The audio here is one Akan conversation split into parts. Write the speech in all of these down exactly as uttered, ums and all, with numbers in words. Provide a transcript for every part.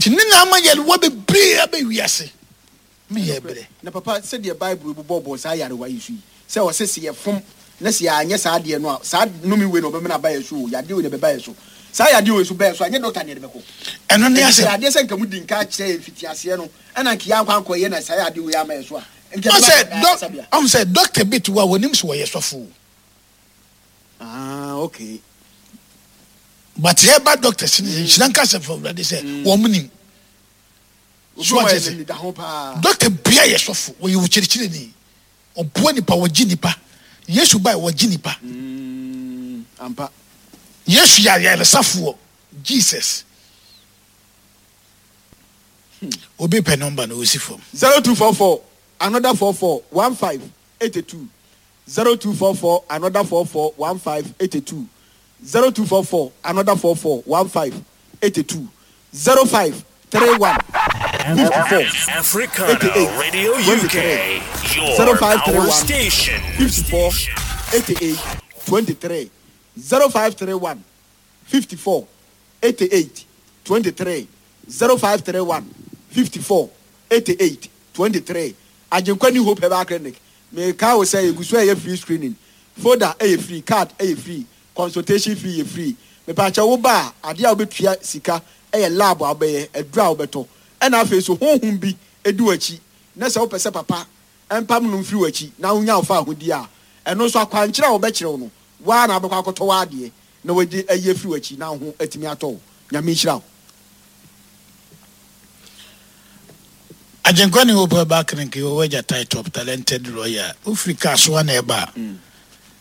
Nti ne na ama yarewa bebree aba wiase. Meyɛ brɛ. Na papa, sɛdeɛ Bible bobɔbɔ saa yarewa yi so yi, sɛ ɔsɛ sɛ yɛfom na sɛ yɛanyɛ saa adeɛ no a, saa nnome wei na ɔbɛmena aba yɛ so o, yadeɛ wei na ɛbɛba yɛ so. Saa yadeɛ wei so bɛyɛ so a, ɛnyɛ dɔkta ne yɛde bɛkɔ. Ɛno ne asɛm. Adeɛ sɛ nka mu di nka kyerɛ yɛn mfitiaseɛ no, ɛna nka yɛankɔ ankɔyɛ na saa yadeɛ wei ama yɛ so a, nka ɛbɛba ayaresabea. Ɔhu sɛ dɔkta bi te hɔ a wɔnim sɛ wɔyɛ sɔfo. Ah, okay. But yɛba doctors no, nhyira nka sɛ fɔ Awurade sɛ wɔn nim. So ate ase? Dɔkta bia yɛ sɔfo, wɔyɛ ɔkyerɛkyerɛni, ɔboa nipa, wɔgye nipa. Yesu bae, wɔgye nipa. Mm, ampa. Yesu yɛ ayaresafoɔ. Jesus. Hmm. Obi pɛ nɔmba no, osi fam. Zero two four four another four four one five eighty two zero two four four another four four one five eighty two zero two four four another four four one five eighty two zero five three one fifty four Africana eighty eight Radio twenty U K, three your zero five three power one station. fifty four eighty eight twenty three zero five three one fifty four eighty eight twenty three zero five three one fifty four eighty eight twenty three. Agyenkwa New Hope Herbal Clinic. Meka wo sɛ yɛgu so a ɛyɛ free screening. Folder ɛyɛ free, card ɛyɛ free, consultation fee yɛ free. Mepaakyɛ wo ba a, adeɛ a wobɛtua sika ɛyɛ lab a wobɛyɛ, aduru a wobɛtɔ. Ɛna afei so honhom bi ɛdi w'akyi na sɛ wopɛ sɛ papa ɛmpam no mfiri w'akyi na wonya wo fa ahodie a, ɛno nso akwankyerɛ a wɔbɛkyerɛ wo no, waa na wobɛkɔ akɔtɔ w'adeɛ na wɔde ayi afiri w'akyi na wo ho atumi atɔ wo. Nyame nhyira wo. Agyenkwa New Hope Herbal Clinic wɔ w'agya tie top talented lawyer wofiri kaa so na ɛba a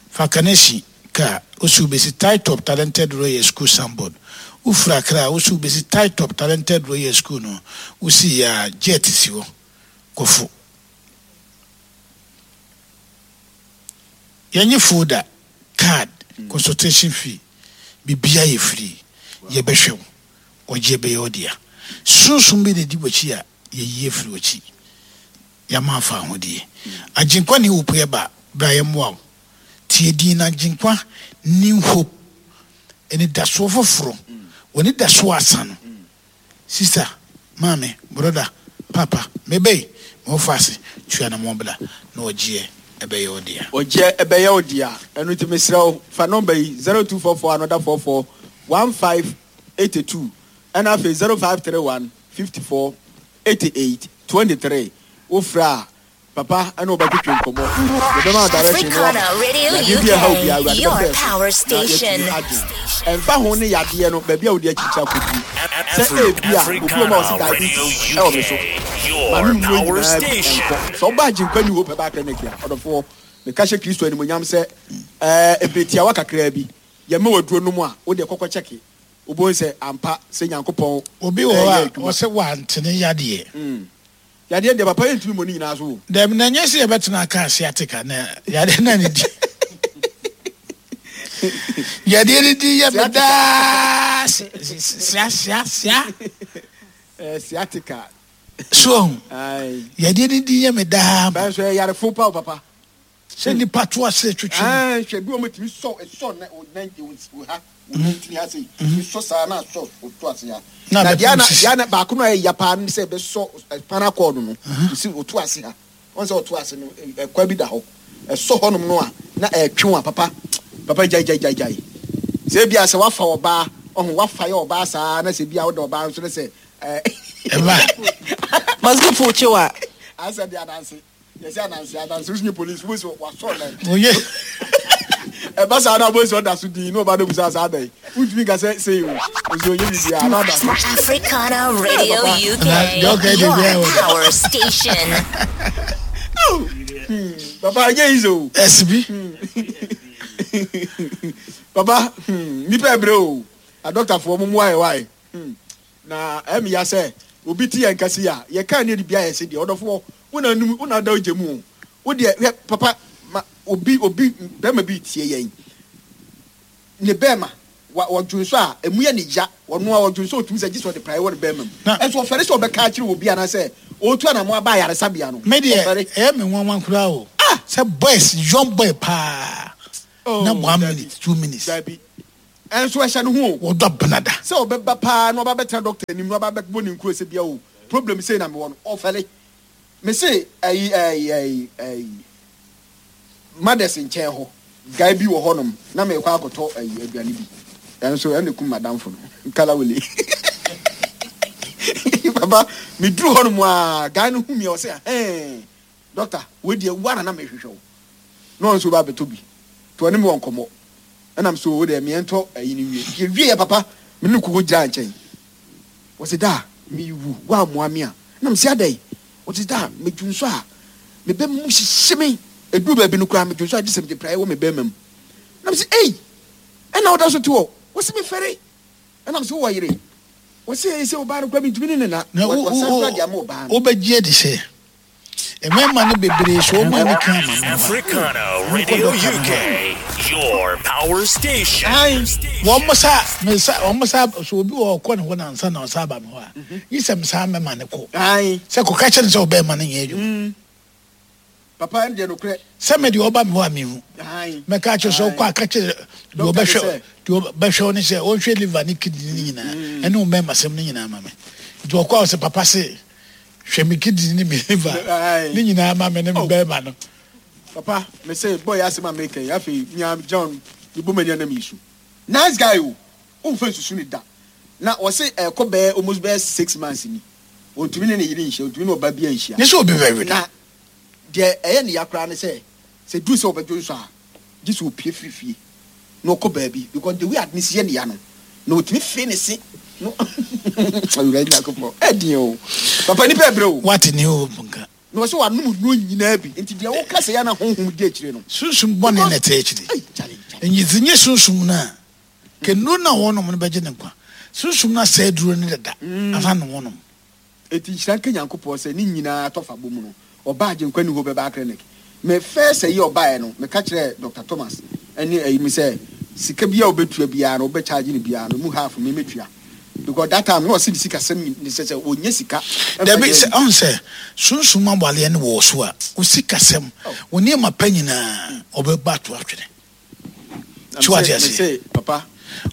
fa kanesi kaa wosi wobɛsi tie top talented lawyer school signboard. Wofiri Accra a wosi wobɛsi tie top talented lawyer school no, wosi yɛ a jet si hɔ kɔfo. Yɛnye folder, card, consultation fee, bibia yɛ free. Yɛbɛhwɛ wo, ɔgye bɛyɛ wo dea. Sunsum bi na di w'akyi a yɛyi afiri w'akyi. Yɛama afa ahodie. Agyenkwa New Hope yɛba bra yɛmmoa wo. Tie din na Agyenkwa New Hope ɛne dasoɔ foforɔ. Wɔne dasoɔ asa no. Sister, maame, brother, papa, mebɛyi, mewɔ ase, tua na mɔbla na ɔgyeɛ ɛbɛyɛ wo dea. Ɔgyeɛ ɛbɛyɛ wo dea. Ɛno nti mesrɛ wo, fa nɔmba yi zero two four four another four four one five eighty two ɛna afei zero five three one fifty four eighty eight twenty three. Wofrɛ a papa ɛna wobɛtwetwe nkɔmmɔ. Yɛbɛma direction no Africana Radio Yadeɛ bi a ɛha wo biara, U K, Awurade your bɛfrɛ so power na station. yɛatumi agye. Ɛmfa ho ne yadeɛ no, baabi a wode akyikyi akɔduru. Sɛ ebi a, obi wɔ hɔ a ɔse Africana diabetes Radio ɛwɔ me so. U K, Ma your me nnuro power nyinaa bi station. ɛnkɔ. Sɛ ɔba Agyenkwa New Hope Herbal Clinic a, ɔdɔfoɔ, meka hyɛ Kristo animuonyam sɛ, ɛɛ, ebere tiawa kakraa bi, yɛma waduro nom a, wode kɔkɔ kyɛke. Wobɛhu sɛ ampa sɛ Nyankopɔn Obi wɔ ɛyɛ hɔ a, adwuma. ɔsɛ wantene yadeɛ. Mm. Yadeɛ deɛ papa yɛntumi mmɔ ne nyinaa so o. Dɛm na nyɛ sɛ yɛbɛtena aka sciatica na yadeɛ na ne di. Yadeɛ ne di yɛ me daa sia sia sia. Eh, sciatica. So Aye. yadeɛ ne di yɛ me daa. Bɛn so yarefo pa o papa. Sɛ nipa to ase twetwe. Ah, hwɛ bi wɔn tumi sɔ sɔ na na wo ha wo ntini ha sei. Tumi sɔ saa na sɔ to ase ha. Na Na bɛpem deɛ na sisi. deɛ na baako no a ɛyɛ ya paa no sɛ ɛbɛsɔ spinal cord no. Si oto ase ha. Wɔn sɛ ɔto ase no ɛkwa bi da hɔ. Ɛsɔ hɔnom no a na ɛtwe wa papa. Papa gyae gyae gyae gyae. Sɛ ebi a sɛ wafa ɔbaa, ɔho wafa yɛ ɔbaa saa na sɛ ebi a ɔda ɔbaa nso na sɛ ɛɛ. Ɛba. Masufo kyewa. Asɛ de adanse. Yɛsɛ ananse ananse wosu nye police wo so wasɔ nan. Oye. Ɛba saa na boys ɔda so din na ɔba no busa saa dan. Wontumi nka sɛ sei o. Osu onye bibi a na ɔda so. Africana Radio Papa. U K, Na, okay, your the way I was. power station. Hmm. Papa ɛnyɛ easy o. S B. Papa, hmm, nipa ebre o. A doctor for mo mu ayɛ wae. Hmm. Na ɛmi ya sɛ obi ti yɛn kasi a yɛ kan ne de bia yɛ se deɛ ɔdɔfoɔ wo na num wo na da ogye mu o. Wo deɛ hwɛ papa ma obi obi bɛrima bi tie yɛn. Ne bɛrima wa ɔdwon so a emu yɛ ne ya ɔno a ɔdwon so otumi sɛ gye sɛ ɔde praeɛ wɔ ne bɛrima mu. Na Ɛnso ɔfɛre sɛ ɔbɛka akyerɛ obi anaasɛ otu anamo aba ayaresabea no. Me deɛ, Ɔfɛre. ɛyɛ me nwanwa koraa o. Ah! Sɛ boys, young boy paa. Oh, Na one Dabi. minute, two minutes. Dabi. Ɛnso ɛhyɛ ne ho o. Wɔdɔ benada. Sɛ ɔbɛba paa na ɔba bɛtena doctor anim na ɔba bɛbɔ ne nkuro sɛ bia o, problem sei na mewɔ no, ɔfɛle. Me se ayi ayi ayi ayi mothers nkyɛn hɔ guy bi wɔ hɔnom na mekɔ akɔtɔ ayi aduane bi, ɛnso ɛna kum madamfo no kalawele. Papa, meduru hɔnom a, guy no hu me a, ɔsɛ hɛn, "Doctor, wei deɛ wo ara na mehwehwɛ wo." Na ɔno nso ba abɛtɔ bi nti ɔne me wɔ nkɔmmɔ, ɛnam so wo deɛ meɛntɔ ayi no wie. Nti yɛwie yɛ, papa, me ne koko gyina nkyɛn, wɔsɛ da mewu woammoa me a, nam sɛ adɛn? Wɔsɛ da medwu nso a, me bɛma mu hyehye me, ɛduru baabi no koraa medwu nso a, gye sɛ mede praeɛ wɔ me bɛrima mu. Nam sɛ ei, ɛna woda so te hɔ? Wɔsɛ mefɛre. Ɛnam sɛ wowɔ yere? Wɔsɛ sɛ ɔbaa no koraa mentumi ne ne na Na wo- wɔsan wo- koraa de ama ɔbaa no. Wobɛgye adi sɛ mmarima no bebree so wɔn ani ka ama no. Africana Radio U K, your power station. Aye. Wɔn mo sa me sa wɔn mo sa so, obi wɔ ɔkɔ ne hɔ nansa na ɔsa aba me hɔ a, yi sɛ me mɛma ne kɔ Aye. sɛ kɔka kyerɛ ne sɛ ɔbɛrima no nyɛ adwuma. Papa, ɛno deɛ nokorɛ. Sɛ me deɛ ɔba me hɔ a, mehu Aye. mɛka kyerɛ sɛ ɔkɔ aka kyerɛ deɛ Doctor ɔbɛhwɛ sɛ- deɛ ɔbɛhwɛ wo ne sɛ ɔnhwɛ liver ne kidney ne nyinaa ɛne wo mmarima sɛm no nyinaa ma me. Nti ɔkɔ a, ɔsɛ papa se hwɛ me kidney ne me liver Aye. ne nyinaa ma me ne me Oh. bɛrima no. Papa, me se boy asɛm a meka yi, afei mia John mebɔ m'ani anam yi so, nice guy o, womfa nsusu ne da na ɔse ɛkɔ bɛyɛ almost bɛyɛ six months ni, ɔntumi ne ne yere nhyia, ɔntumi ne ɔba bi anhyia. Ne sɛ obi bɛwe Na deɛ ɛyɛ ne ya koraa ne sɛ sɛ duru sɛ ɔbɛdwo nso a, gye sɛ ɔpie firi fie na ɔkɔ baabi, because the way ade ne si yɛ ne ya no, na ɔtumi fee ne se no. Awurade Nyankopɔn, ɛdeɛ o, papa, nipa ɛbrɛ o. Wate ne o nka. Na ɔsɛ wanom nnuro nyinaa bi, nti deɛ woka sɛ yɛ na honhom di akyire no. Sunsum bɔne na ɛtɛ akyire. Ei, chale, chale. Nyizi nye sunsum no a kɛnnuro no a wɔnom no bɛgye ne nkwa. Sunsum no asɛe duro no dada ansa na wɔnom. Eti nhyira nka Nyankopɔn sɛ ne nyinaa tɔfa bɔ mu no, ɔbaa Agyenkwa New Hope Herbal Clinic. Me first ayi a ɔbaeɛ no, meka kyerɛɛ Doctor Thomas ɛne ayi mu sɛ sika bi a wobɛtua biara no, wobɛcharge no biara no mu, half me mɛtua, because that time na ɔse ne sika sɛm ne sɛ sɛ ɔnyɛ sika ɛmfa Dabi nyɛ sɛ ayi. ɔn sɛ sunsum awaleɛ no wɔ so a, wo sikasɛm, wo nneɛma pa nyinaa ɔbɛba ato atwene. Na So wate me aseɛ? se papa,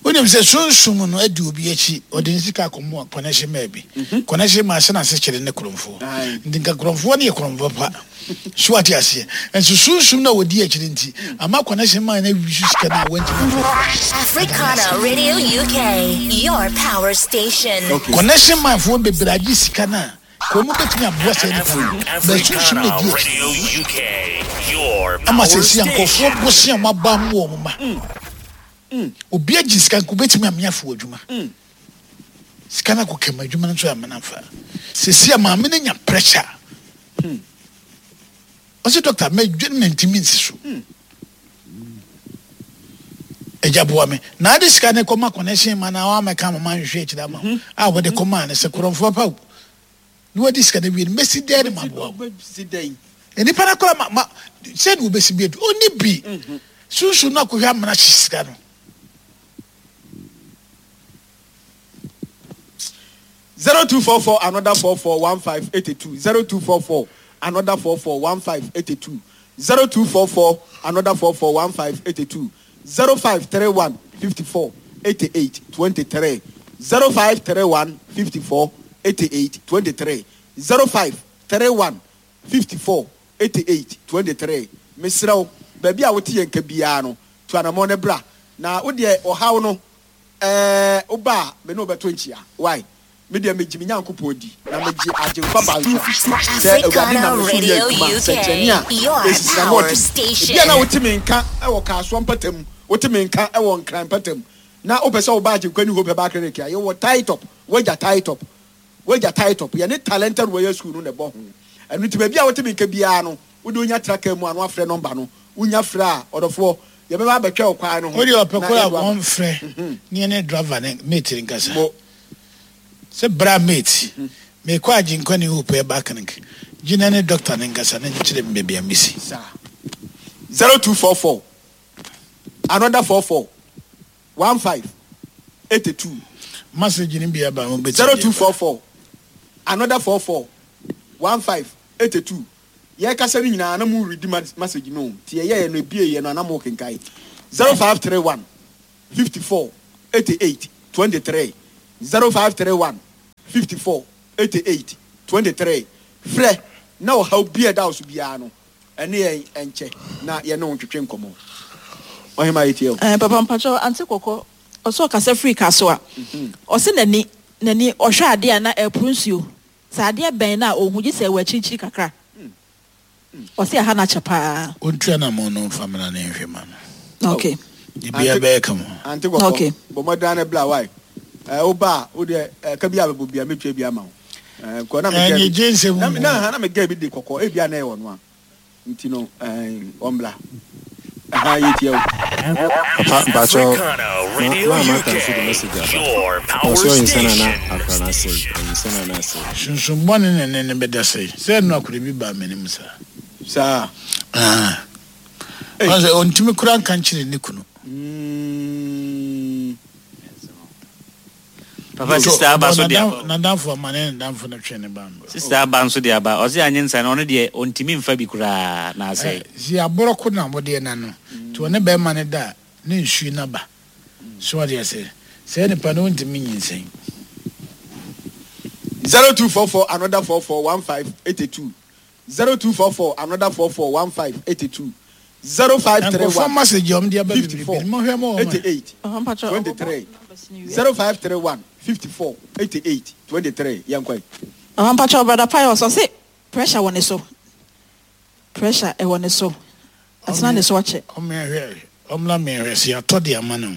Wonim sɛ sunsum no adi obi akyi, ɔde ne sika akɔmɔ connection maa bi, connection maa sɛ n'ase kyerɛ ne kurɔmfoɔ. Aye. Nti nka kurɔmfoɔ no yɛ kurɔmfoɔ pa so, wate aseɛ? Nso sunsum no a wɔdi akyire nti ama connection maa no awi so sika no a wɔntumi mfa. Africana Radio U K, your power station. Okay. Connection man foɔ bebree agye sika no a kɔn mu bɛtumi aboa sɛ nipa no bɛ sunsum no Africana di akyi. Radio U K, your Ama power sɛsi a station. nkɔfoɔ bosia ɔmo aba mu wɔ ɔmo ma obi agye sika nka obɛtumi amea fo adwuma, sika no akɔ kɛm adwuma no nso amena mfa. Sɛsi a maame no nya pressure, ɔsɛ, "Doctor, mɛdwene mantimi nsi so, agya boa me." Na ade sika no kɔma connection ma na wamɛka ma manhwehwɛ akyirɛ ama wo a wɔde kɔmaa no sɛ korɔmfoɔ pa wo na wadi sika no wie no, mɛsi dɛn ne maboa wo? Wobɛsi dɛn? Nipa no koraa ma ma sɛ ne wobɛsi bi adu ɔni bi sunsun no akɔhwɛ amena hye sika no. Zero two four four another four four one five eighty two, zero two four four another four four one five eighty two, zero two four four another four four one five eighty two, zero five three one fifty four eighty eight twenty three, zero five three one fifty four eighty eight twenty three, zero five three one fifty four eighty eight twenty three. Mesrɛ wo, baabi a wote yɛn nka biara no, tu anammɔn ne bra na wodeɛ ɔhaw no ɛɛ woba a, me ne wobɛto nkyia. Why? Me deɛ megye me Nyankopɔn di na megye Agyenkwa ba nso sɛ Awurade nam ne so yɛ adwuma nsɛnkyerɛnne a ɛsisi na ɔde ebia na wote me nka ɛwɔ Kaasoa mpata, wote me nka ɛwɔ Nkran mpatam na wopɛ sɛ woba Agyenkwa New Hope Herbal Clinic a yɛwɔ tie top, wagya tie top, wagya tie top, yɛne Talented Warrior School no na ɛbɔ ho. Ɛno nti baabi a wote me nka biara no, wode wonya traka mu a na wafrɛ number no, wonya frɛ a, ɔdɔfoɔ, yɛbɛba abɛtwɛ wo kwan no ho. Wode ɔpɛ na koro a yɛde wo aba. Wɔmfrɛ ne yɛne driver ne mate nkasa mo sɛ bra mate, mekɔ Agyenkwa New Hope Herbal Clinic, gyina ne doctor ne nkasa ne nkyerɛ me baabi a mesi. Saa zero two four four another four four one five eighty two. Message no bi aba, mobɛtumi. zero two four four another four four one five eighty two. Yɛkasa no nyinaa na mo read message no, nti yɛyɛ no ebie yɛ no ana mo kenkan. zero five three one fifty four eighty-eight twenty-three zero five three one fifty-four eighty-eight twenty-three. Frɛ na ɔhaw bi a ɛda wo so biara no ɛne yɛn ɛnkyɛ na yɛne wo ntwetwe nkɔmmɔ. Ɔhema yɛtie o. Eh, papa mpakyɛ ante kɔkɔ ɔsɛ ɔkasa firi ka so a ɔse n'ani n'ani ɔhwɛ adeɛ a na ɛporo nsuo sɛ adeɛ bɛn na ɔhu gye sɛ ɛwɔ akyirikyiri kakra ɔse ɛha no akyɛ paa. Ɔntua na mo no mfa mmra ne nhwɛ ma no. Okay. Biribiara bɛyɛ kama. Ante kɔkɔ Okay. bɔ mmɔden ne bla wae. Ɛ woba a wo deɛ ɛka bi a bɛbɔ bia mɛtua bi ama wo. Ɛ nkɔ na megɛ Ɛnyɛ gye nsɛm na mu. na na megɛ bi de kɔkɔ ebi a na ɛwɔ no a nti no ɛn ɔmbla. Ɛha yɛtie o. Papa mpakyɛw Africana Radio ma ma ka nso de U K, message aba. your power Ɔsɛ ɔyinsɛn ana station. akra na asɛe ɔyinsɛn ana asɛe. Sunsunbɔne ne ne ne bɛda sɛe sɛ ɛno akora bi baa m'anim saa. Saa. Ah. Ei. Ɔsɛ ɔntumi kora nka nkyerɛ ne kunu. Mm. Papa sister aba so de aba. Nadamfo ama ne nadamfo no twe ne ba mbra. Sister aba nso de aba. Ɔse anye nsa no ɔno deɛ ɔntumi mfa bi koraa na asɛe. Si aborɔko na wɔdeɛ na no nti ɔne bɛrima no da a ne nsuo no aba so ɔdeɛ sɛ sɛ nipa no ɔntumi nyinsɛn. zero two four four another four four one five eighty two zero two four four another four four one five eighty two zero five three Nkurɔfoɔ one message a ɔmo de aba fifty bebrebe four no mohwɛ ma wɔn eighty eight Papa mpakyɛ twenty ɔbɔbɔ three numbers no wie. zero five three one fifty four eighty eight twenty three yɛn kɔ yi. Papa mpakyɛ brother Pius ɔse pressure wɔ ne so. Pressure ɛwɔ ne so. Atena ne so akyɛ. Ɔmo ɔmla mmiɛnhwɛ sɛ yɛatɔ de ama no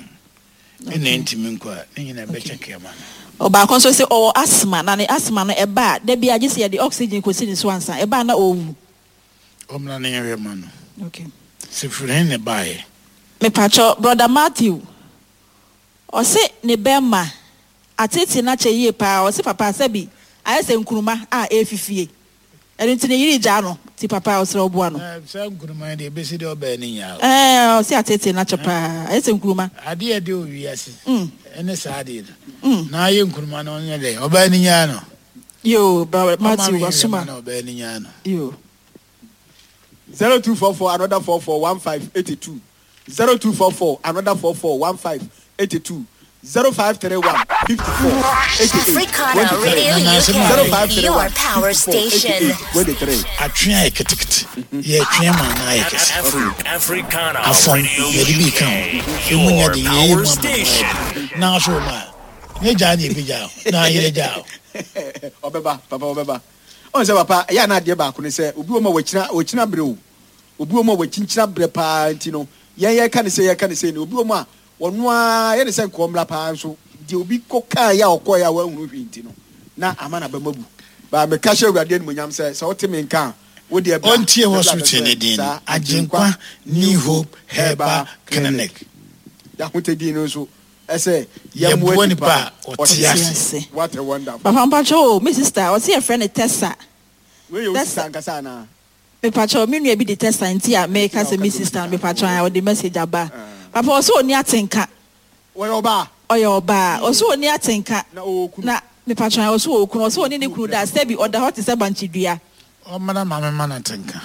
ɛna ntumi nkɔ a ne nyinaa bɛkyɛ kɛma no. Ɔbaako nso sɛ ɔwɔ asthma na ne asthma no ɛba a da bi agye sɛ yɛde oxygen kɔsi ne so ansa ɛba a na ɔwu. Ɔmla ne yɛhwɛ ma no. Okay. Sɛ firi he ne baeɛ. Mepakyɛ brother Matthew ɔse ne bɛrima atete n'akyɛ yie paa ɔse papa sɛbi ayɛ sɛ nkuruma a ɛfifie ɛno nti ne yere gyaa no ti papa ɔsrɛ ɔboa no. Ɛɛ, saa nkuruma yi deɛ ebesi deɛ ɔbɛn ne nyaa o. Ɛɛ ɔse atete n'akyɛ paa ayɛ sɛ nkuruma. Adeɛ de owi ase. Mm. Ɛne saa adeɛ no. Na ayɛ nkuruma no ɔnyɛ dɛ ɔbɛn ne nyaa no. Yo brother Ɔma Matthew me yɛhwɛ ma wasoma. no ɔbɛn ne nyaa no. Yo. zero two four four another four four one five eighty two zero two four four another four four one five eighty two zero five three one fifty four eighty eight Africana twenty three Radio zero five U K, three your one power fifty four eighty station. eight twenty three. Atwe ayɛ ketekete. Yɛtwe ma na ayɛ kɛse. Afri- Africana Afɔn Radio yɛde bi ka ho. U K, Emu nya your de yɛyɛ mu power ama no station. ayɛ. Na so ma ne gyaa ne ebi gyaa o. Na ayere gyaa o. Ɔbɛba papa ɔbɛba ɔn sɛ papa ɛyɛ ana adeɛ baako ne sɛ obi wɔ mu a wɔkyina wɔkyina brɛ o obi wɔ mu a wɔkyinkyina brɛ paa nti no yɛn yɛka ne sɛ yɛka ne sɛ ne obi wɔ mu a ɔno ara yɛ ne sɛ nkɔɔ paa nso deɛ obi kɔ kaa yɛ a ɔkɔɔ yɛ a wɔahunu hwee nti no na ama na bɛma bu baa meka hyɛ Awurade animuonyam sɛ sɛ wote me nka a wo deɛ bra Ɔntie na bra hospital ne bɛsrɛ din no. saa Agyenkwa New Hope Herbal Clinic. Yɛahotɛ din no nso ɛsɛ Yɛboa nipa a ɔte ase. Ase. What a wonderful. Papa mpakyɛ o me sister ɔse yɛfrɛ no Tessa. Wei yɛ wo That's- sister ankasa anaa? Mepakyɛ me nua bi de Tessa nti a meka sɛ me sister no mepakyɛ a ɔde message aba. Papa ɔse ɔni atenka. Wɔyɛ ɔbaa. Ɔyɛ ɔbaa ɔse ɔni atenka. Na ɔwɔ kunu. Na mepakyɛ ɔse ɔwɔ kunu ɔse ɔne ne kunu da sɛbi ɔda hɔ te sɛ bankyidua. Ɔmmra maame ma no atenka.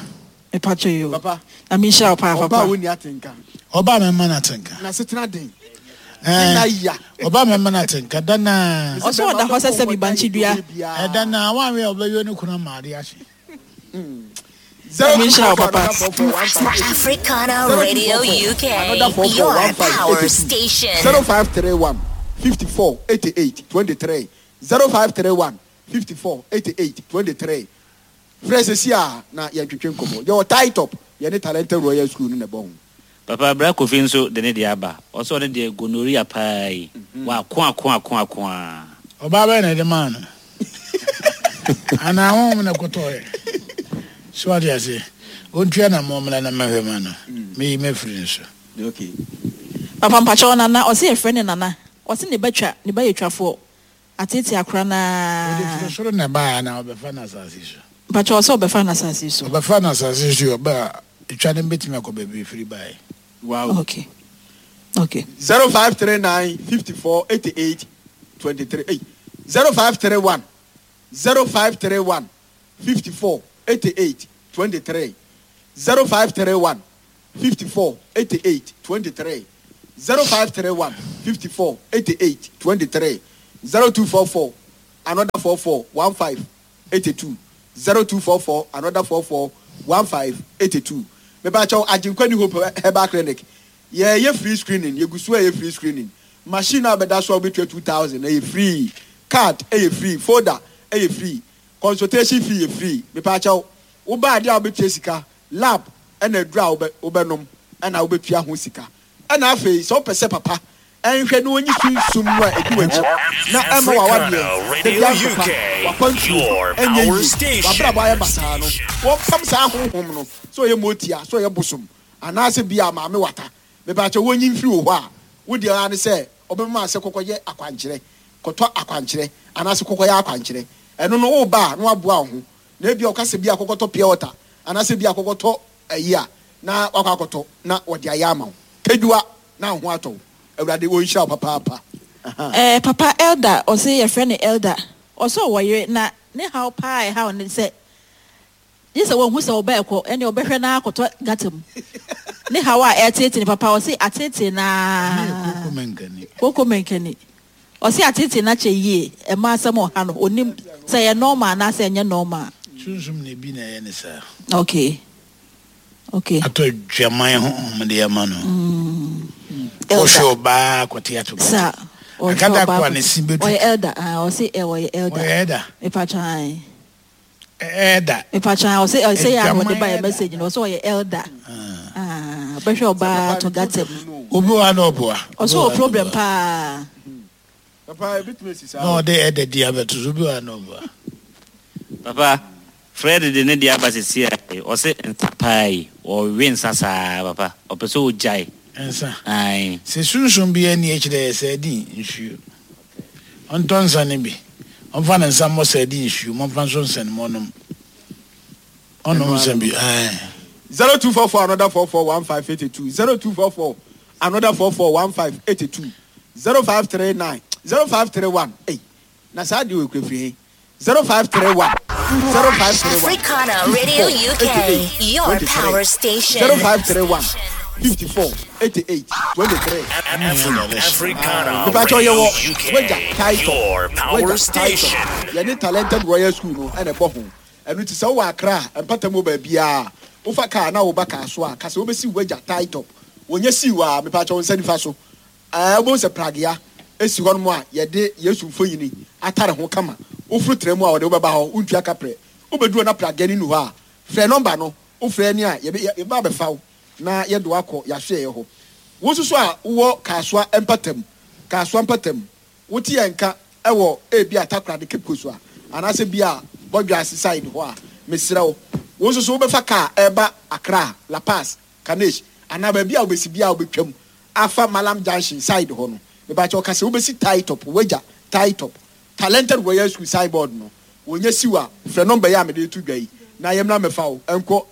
Mepakyɛ yo. Papa. Na menhyira wo paa Ɔbaa papa. a wonni atenka. Ɔbaa mɛma no atenka. Na setena den. Ɛɛ, Na ya. ɔbaa mɛma no atenka da naa. Ɔse ɔda hɔ sɛ sɛbi bankyidua. Ɛda naa wanwe a ɔbɛyɛ ne kunu ama ade ahye. Zero two Menhyira wo four four papa. another four four one five eight two. Africana Zero two Radio four four U K, another four four your one five power eight two. station. Zero five three one fifty four eighty eight twenty three zero five three one fifty four eighty eight twenty three. Frɛ sisi a na yɛntwetwe nkɔmmɔ. Yɛwɔ tie top yɛne Talented Royal School no na ɛbɔ ho. Papa bra Kofi nso de ne deɛ aba. Ɔsɛ ɔne deɛ gonorrhea paa yi. Wako ako ako ako a. Ɔbaa bɛyɛ na ɛde maa no. Anaa honhom na kɔtɔɔɛ. So ade ase. Ɔntua na mɔmmra na mɛhwɛ ma no. Meyi mɛfiri ne so. Okay. Papa mpakyɛ nana ɔse yɛfrɛ ne nana ɔse ne ba twa ne ba yɛ twafoɔ atete akora Ɔde naa. firi soro na ɛbaeɛ anaa ɔbɛfa no asase so. Mpakyɛ ɔsɛ ɔbɛfa no asase so. Ɔbɛfa no asase so ɔbɛ a etwa no bɛtumi akɔ baabi efiri baeɛ. Wow. Okay. Okay. Zero five three nine fifty four eighty eight twenty three. Hey. Zero five three one zero five three one fifty four eighty eight twenty three zero five three one fifty four eighty eight twenty three zero five three one fifty four eighty eight twenty three zero two four four another four four one five eighty two zero two four four another four four one five eighty two mebakyɛw Agyenkwa New Hope Herbal Clinic yɛyɛ free screening yɛgu so a yɛ free screening machine a bɛda so a wobɛtua two thousand ɛyɛ free card ɛyɛ free folder ɛyɛ free consultation fee yɛ free mepakyɛw woba adeɛ a wobɛtua sika lab ɛna aduru a wobɛ wobɛnom ɛna wobɛtua ho sika ɛna afei sɛ wopɛ sɛ papa ɛnhwɛ na onyi sunsum no a ɛdi w'akyi na ɛma w'awadeɛ da bi asopa w'akwantuo ɛnyɛ yie w'abrabɔ ayɛ basaa no wɔmpam saa honhom no sɛ ɔyɛ motia sɛ ɔyɛ bosom anaasɛ bi a maame wata mepakyɛw wɔnyi mfiri wɔ hɔ a wodeɛ ara ne sɛ ɔbɛma sɛ kɔkɔyɛ akwankyerɛ kɔtɔ akwankyerɛ anaasɛ kɔkɔyɛ akwankyerɛ ɛno no woba a na waboa wo ho na ebi a ɔka sɛ bi a kɔkɔtɔ pure water anaasɛ bi a kɔkɔtɔ ayi a na wakɔ akɔtɔ na wɔde ayɛ ama wo kedua na wo ho atɔ wo awurade wɔnhyira wo papaapa Eh, papa elder ɔsɛ yɛfrɛ no elder ɔsɛ ɔwɔ yere na ne haw paa ɛhaw ne sɛ gye sɛ wɔnhu sɛ ɔbɛɛ kɔ ɛne ɔbɛhwɛ na akɔtɔ gata mu ne haw a ɛtetee ne papa ɔsɛ atetee naa Koko menkani. koko menkani ɔsɛ atetee na kyɛ yie ɛma asɛm ɔha no onim sɛ ɛyɛ normal anaasɛ ɛnyɛ normal Sunsum na ebi na ɛyɛ ne saa. okay okay Atɔ adwaman honhom de ama no. elder Ɔhwɛ ɔbaa kɔte ato gata. sa ɔhwɛ Akada ɔbaa kɔ a ne si bɛtu. ɔyɛ elder ah ɔsɛ ɛ ɔyɛ elder Ɔyɛ ɛda. mepatwan Ɛda. mepatwan ɔsɛ ɔsɛ yɛ a wɔde ba yɛ Adwaman message no ɔsɛ ɔyɛ elder ah ɔbɛhwɛ ɔbaa to gata mu Obi wɔ ha na ɔboa. ɔsɛ ɔwɔ problem paa papa ebitumi esi saa Na ɔde ɛda di abɛto so obi wɔ ha na ɔboa. Papa, Fred de ne deɛ aba sisi a ɔse nsa paa yi ɔwe nsa saa papa ɔpɛ sɛ ɔgyae. Nsa. Ae. Sɛ sunsum bi ani akyerɛ yɛ sɛ ɛdi nsuo. Ɔntɔ nsa no bi. Ɔmfa ne nsa mmɔ sɛ ɛdi nsuo. Mɔmfa nso nsa no mu ɔnom. Ɔnom nsa bi. Ae. zero two four four another four four one five eighty two zero two four four another four four one five eighty two zero five three nine zero five three one eight na saa deɛ okura firi he zero five three one zero five three one Africana Radio UK, your power station. zero five three one fifty four eighty eight twenty three. Africana Mepakyɛw Radio yɛwɔ UK, wagya title your power wagya station. title yɛne talented royal school no ɛna ɛbɔ ho ɛno ti sɛ wowɔ akra a mpata mu wɔ baabiaa wofa kaa na woba kaa so a kasa wobɛsi wagya title wɔnyɛ sii wɔ a mepakyɛw wo nsa nifa so ɛɛ wobɛhu sɛ pragea esi hɔ nom a yɛde yesu mfonyini atare ho kama woforo tena mu a wɔde wobɛba hɔ wontua kaprɛ wobɛduru na pragea no nu hɔ a frɛ nɔmba no wofrɛ ni a yɛbɛ yɛbɛ abɛfa wo na yɛde wakɔ yɛahwɛ yɛ hɔ wo nso so a wowɔ kaasoa mpatam kaasoa mpatam wote yɛn nka ɛwɔ ebi a takoradi cape coast a anaasɛ bi a bɔdwa side hɔ a mesrɛ wo wo nso so wobɛfa kaa ɛba accra la paz kanesh anaa baabi a wobɛsi bi a wobɛtwam afa malam junction side hɔ no mebakyɛ ɔka sɛ wobɛsi tie top wagya tie top talented royal school signboard no wɔnyɛ siw a frɛ nɔmba yi a mede to dwa yi na yɛmmra mɛfa wo ɛnkɔ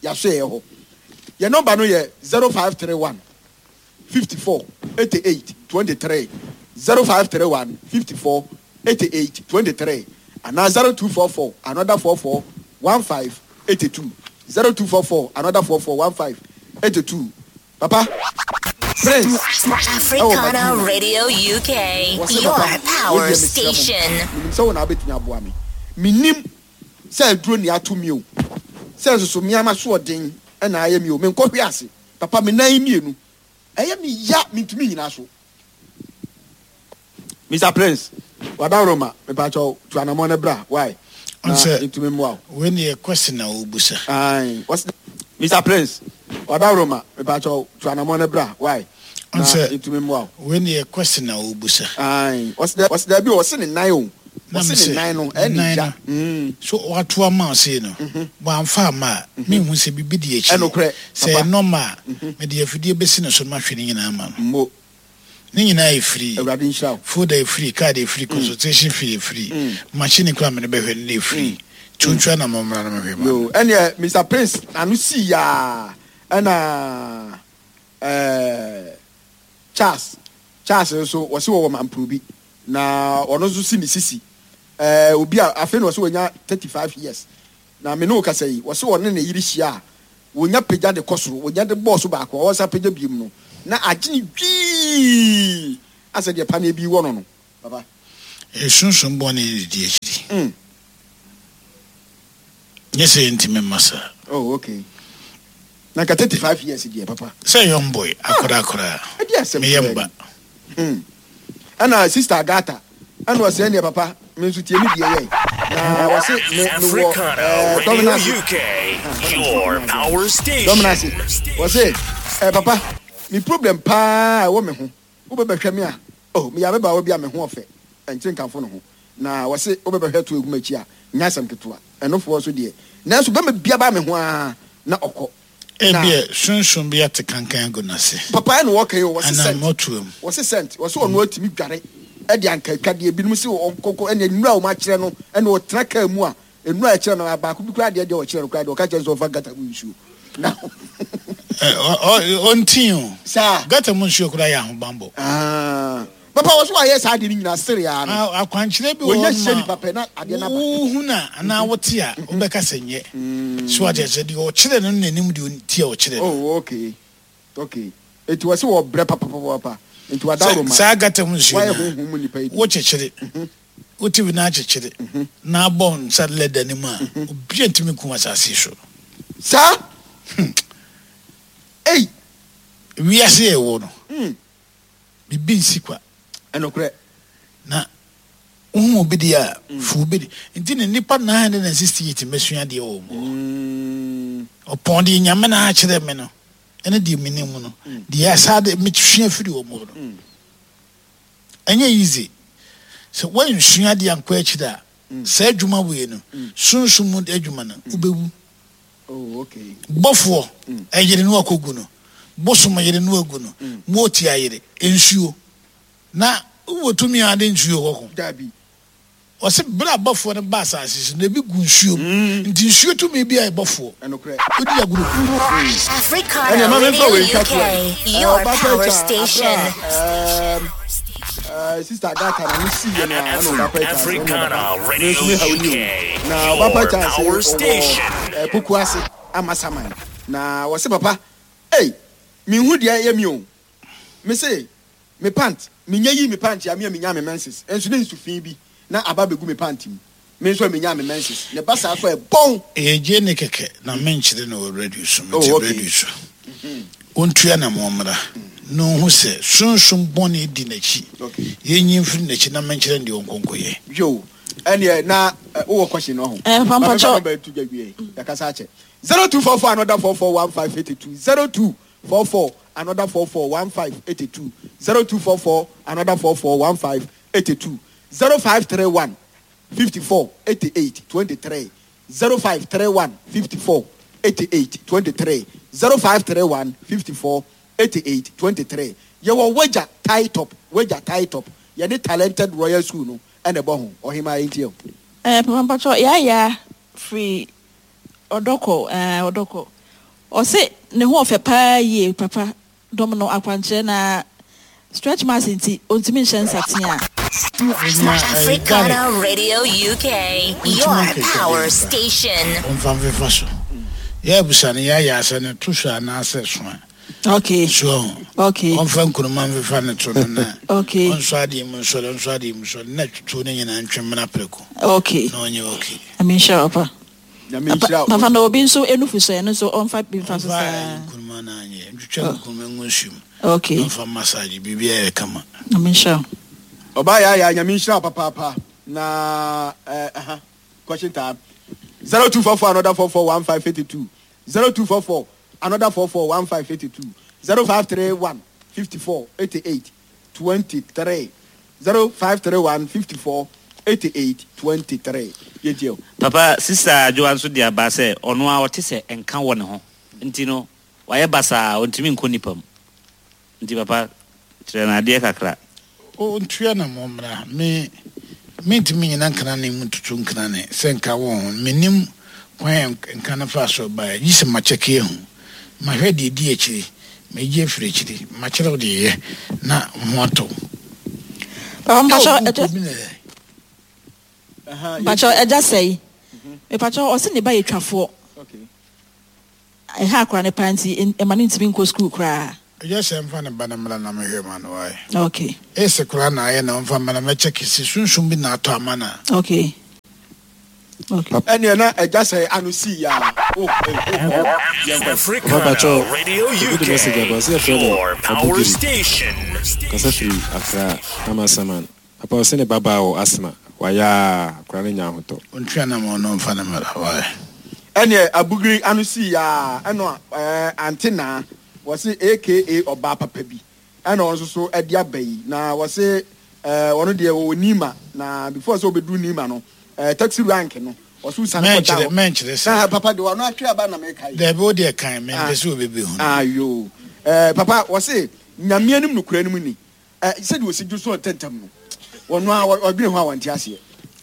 yɛaso yɛ hɔ yɛ nɔmba no yɛ zero five three one fifty four eighty eight twenty three zero five three one fifty four eighty eight twenty three anaa zero two four four another four four one five eighty two zero two four four another four four one five eighty two papa prince Africana Radio UK, wɔsɛ your papa power wodeɛ mesrɛ mo station. menim sɛ wo na wobɛtumi aboa me menim sɛ aduro ni ato mi o sɛ nsoso mmeama so ɔden ɛna ayɛ mi o menkɔhwe ase papa me nan mmienu ɛyɛ me ya mentumi nyina so mr prince wadaroma mepakyɛw tu anammɔ no bra why na Ɔnsɛ- ntumi mmoa wo Wei ne yɛ question a wobusa. Aye. What's the, Mr. Prince, wadaroma mepakyɛw tu anammɔ no bra why na Ɔnsɛ- ntumi mmoa wo Wei ne yɛ question a wobusa. Aye. What's the what's the bi ɔse ne nan o Na ɔse me ne sɛ, nan no ne ɛne nan ya no. Mm. So wato ama wo sei no wamfa ama a mehu sɛ biribi di akyi. Ɛnokorɛ, Sɛ papa. ɛnɔma a mede afidie bɛsi ne so no mahwɛ ne nyinaa ama no. Mo Ne nyinaa yɛ free. awurade nhyira wo folder yɛ free card yɛ free consultation fee yɛ free machine kora mede bɛhwɛ no yɛ free tuntun na mɔmmra no mehwɛ ma no. yo ɛneɛ mr prince ano sii yaa ɛna ɛɛ charles charles nso wɔsi wɔwɔ mampuro bi na ɔno nso si ne sisi ɛɛ obi a afei na wɔsi wɔnya thirty five years na me ne wo kasa yi wɔsi wɔne ne yere hyia a wɔnya pagya de kɔ soro wɔnya de bɔɔso baako a wɔsa pagya biem no Na agye ne dwii asɛ deɛ paneɛ bi wɔ no no papa. Ɛsunsum bɔne ne di akyiri. Mm. Nyɛ sɛ yɛntumi mma saa. Oh, okay. Na nka thirty five years deɛ papa. Sɛ young boy akora akora. Ɛdi asɛm meyɛ mba. Hmm. Ɛna Sister Agatha ɛna ɔsɛ ɛneɛ papa me nso tie me deɛ yɛ na wɔse me mewɔ ɛɛ Dominase. Your power station. Dominase wɔse ɛɛ papa me problem paa ɛwɔ me ho wobɛbɛhwɛ me a oh meyɛ ababaawa bi a me ho ɔfɛ ɛnkyere nkamfo ne ho na wɔse wobɛbɛhwɛ to egu m'akyi a nyɛ asɛm ketewa ɛnofoɔ so deɛ nanso bɛma bia ba me ho a na ɔkɔ. Ebia sunsun bi ate kankan agu n'ase. Papa ɛna wɔka yi o wɔse sɛnt Anaa wɔse sɛnt wɔse ɔno atumi dware ɛde anka atwadeɛ ebinom se ɔnkɔkɔ ɛna nnura a wɔn akyerɛ no ɛna ɔtena kaa mu a nnura a ɛkyerɛ no baako bi koraa deɛ deɛ ɔkyerɛ no koraa deɛ ɔka kyerɛ no sɛ ɔfa gata mu nsuo na ɔntin o saa gata mu nsuo koraa yɛ ahobanbɔ. Aa papa wɔ so wayɛ saa adeɛ no nyinaa sere aa no akwankyerɛ bi wɔ hɔ ma nipa pɛ na adeɛ no aba wohu na anaa wote a wobɛka sɛ nyɛ so ate sɛ deɛ ɔkyerɛ no n'anim deɛ ɔnti a ɔkyerɛ no. Oh, okay okay eti wɔ sɛ wɔbrɛ papapapa nti wadaworo ma saa gata mu nsuo wayɛ no honhom mu nipa yi bi wokyekyere wote bi na akyekyere na abɔ nsa lɛda no mu a obi ntumi nkum asase so saa ei wiase yɛ wɔ no bibi nsi kwa ɛnokorɛ na wohu obi deɛ a fu obi de nti ne nipa nine hundred and sixty eight mɛsua deɛ wɔ mu ɔpɔn deɛ Nyame na akyerɛ me no ɛne deɛ menim no deɛ asa de mesua firi wɔ mu no ɛnyɛ easy sɛ woansua deɛ ankɔ akyiri a saa adwuma wei no sunsum mu adwuma no wobɛwu. Oh, okay. Bɔfoɔ ɛyere no akɔgu no bosom yere no agu no mooti ayere nsuo na wowɔ tumi a ade nsuo kɔko. Dabi. Ɔse bere a bɔfoɔ no ba asase so na ebi gu nsuo mu nti nsuo tumi bi a ɛbɔfoɔ ɛnokorɛ wodi agorɔ. Africana Radio U K, your power station. Sister Agatha na ne si yɛ no a ɛna ɔba pɛ Africana Radio kyase U K, na ɔba pɛ your kyase power station. ɔwɔ poku ase amasaman na wɔse papa ei minhu deɛ ɛyɛ mi o me se me pant menya yi me pant a me a menya me menses nso ne nsu fi bi na aba begu me pant mu me nso a menya me menses ne ba saa so ɛbɔn. Ɛyɛ gye ne kɛkɛ na menkyerɛ no wɔ radio so mete Oh, okay. radio so ɔntua na mɔmmra na ɔhu sɛ sunsum bɔne di n'akyi yɛnyi mfiri n'akyi na menkyerɛ no deɛ ɔnkɔnkɔyɛ. Yo ɛneɛ na wowɔ question no ho. Eh, Papa Papa bɛ tu dwa wie yɛkasa akyɛ zero two four four another four four one five eighty two zero two four four another four four one five eighty two zero two four four another four four one five eighty two zero five three one fifty four eighty eight twenty three zero five three one fifty four eighty eight twenty three zero five three one fifty four eighty eight twenty three yɛwɔ wagya tie top wagya tie top yɛne Talented Royal School no ɛna ɛbɔ ho ɔhema yɛn tiɛ o. Eh, Papa Mpacho yaya free ɔdɔkɔ eh ɔdɔkɔ ɔse ne ho ɔfɛ paa yie papa dɔm no akwankyerɛ na stretch marks nti ontumi nhyɛ nsatea. Africana Radio U K, your power station. Ɔmfa mfefa so yɛ abusa no yɛayɛ asɛ no to so anaasɛ so a Okay. so Okay. ɔmfa nkuruma mfefa no to no na Okay. ɔnso adeɛ mu nsɔre ɔnso adeɛ mu nsɔre na tutuo no nyinaa ntwe mmena prɛko Okay. na ɔnyɛ okay. Nyame nhyira wo pa. Nyame nhyira wo. Papa na obi nso enufu so ɛno nso ɔmfa bi mfa so Ɔmfa saa. nkuruma no anyɛ ntwitwa nkuruma ngu nsuo mu. Okay. Ɔmfa massage biribiara yɛ kama. Nyame nhyira wo. Ɔbaa yɛ ayɛ Nyame nhyira wo papaapa na eh aha question time zero two four four another four four one five eighty two zero two four four another four four one five eighty two zero five three one fifty four eighty eight twenty three zero five three one fifty four eighty eight twenty three yɛ Papa sister Adwoa nso de aba sɛ ɔno a ɔte sɛ nka wɔ ne ho nti no wayɛ basaa ɔntumi nkɔ nipa mu nti papa kyerɛ no adeɛ kakra. Ɔntua na mɔmmra me mentumi nyina nkana ne mu tutu nkana ne sɛ nka wɔ ho menim kwan nka no fa so baeɛ gye sɛ makyɛke ahu mahwɛ deɛ di akyiri megye afiri akyiri makyerɛ wo deɛ yɛ na ho atɔ. Papa mpakyɛ ɛgya mpakyɛ ɛgya sɛyi mpakyɛ ɔse ne ba yɛ twafoɔ ɛha akora ne pa nti ɛma ne ntumi nkɔ sukuu koraa. Ɛyɛ sɛ mfa ne ba no mmra na mehwɛ ma no wae. Okay. Ese koraa na ayɛ na ɔmfa mma na mɛkyɛ kese sunsum bi na atɔ ama no a. Okay. Okay. Ɛneɛ na agya sɛe ano sii ya oh eh oh oh yɛnkɔ. Papa Africana pakyɛw Radio obi de message aba ɔse U K, yɛfrɛ no your power Abugiri station. kasa firi Accra Amasaman papa ɔse ne babaa wɔ asthma wayɛ aa akora no nya ahotɔ. Ɔntua na ma ɔno mfa no mmra wae. Ɛneɛ Abugiri ano sii ya ɛna ɛɛ Ante Naa wɔse aka ɔbaa papa bi ɛna ɔno nso so ɛde aba yi na wɔse ɛɛ ɔno deɛ ɔwɔ Nima na before sɛ ɔbɛduru Nima no ɛɛ taxi rank no ɔso sane kɔda Mɛnkyerɛ hɔ mɛnkyerɛ na saa. papa deɛ ɔno atwe aba na meka yi. Dabi wo deɛ kan mempɛ Ah sɛ obi bɛhu no. ayo ɛɛ papa wɔse Nyame anim nokora no mu ni ɛɛ sɛdeɛ ɔsi dwo so ntɛntɛm no ɔno a ɔdwene ho a wɔnte aseɛ.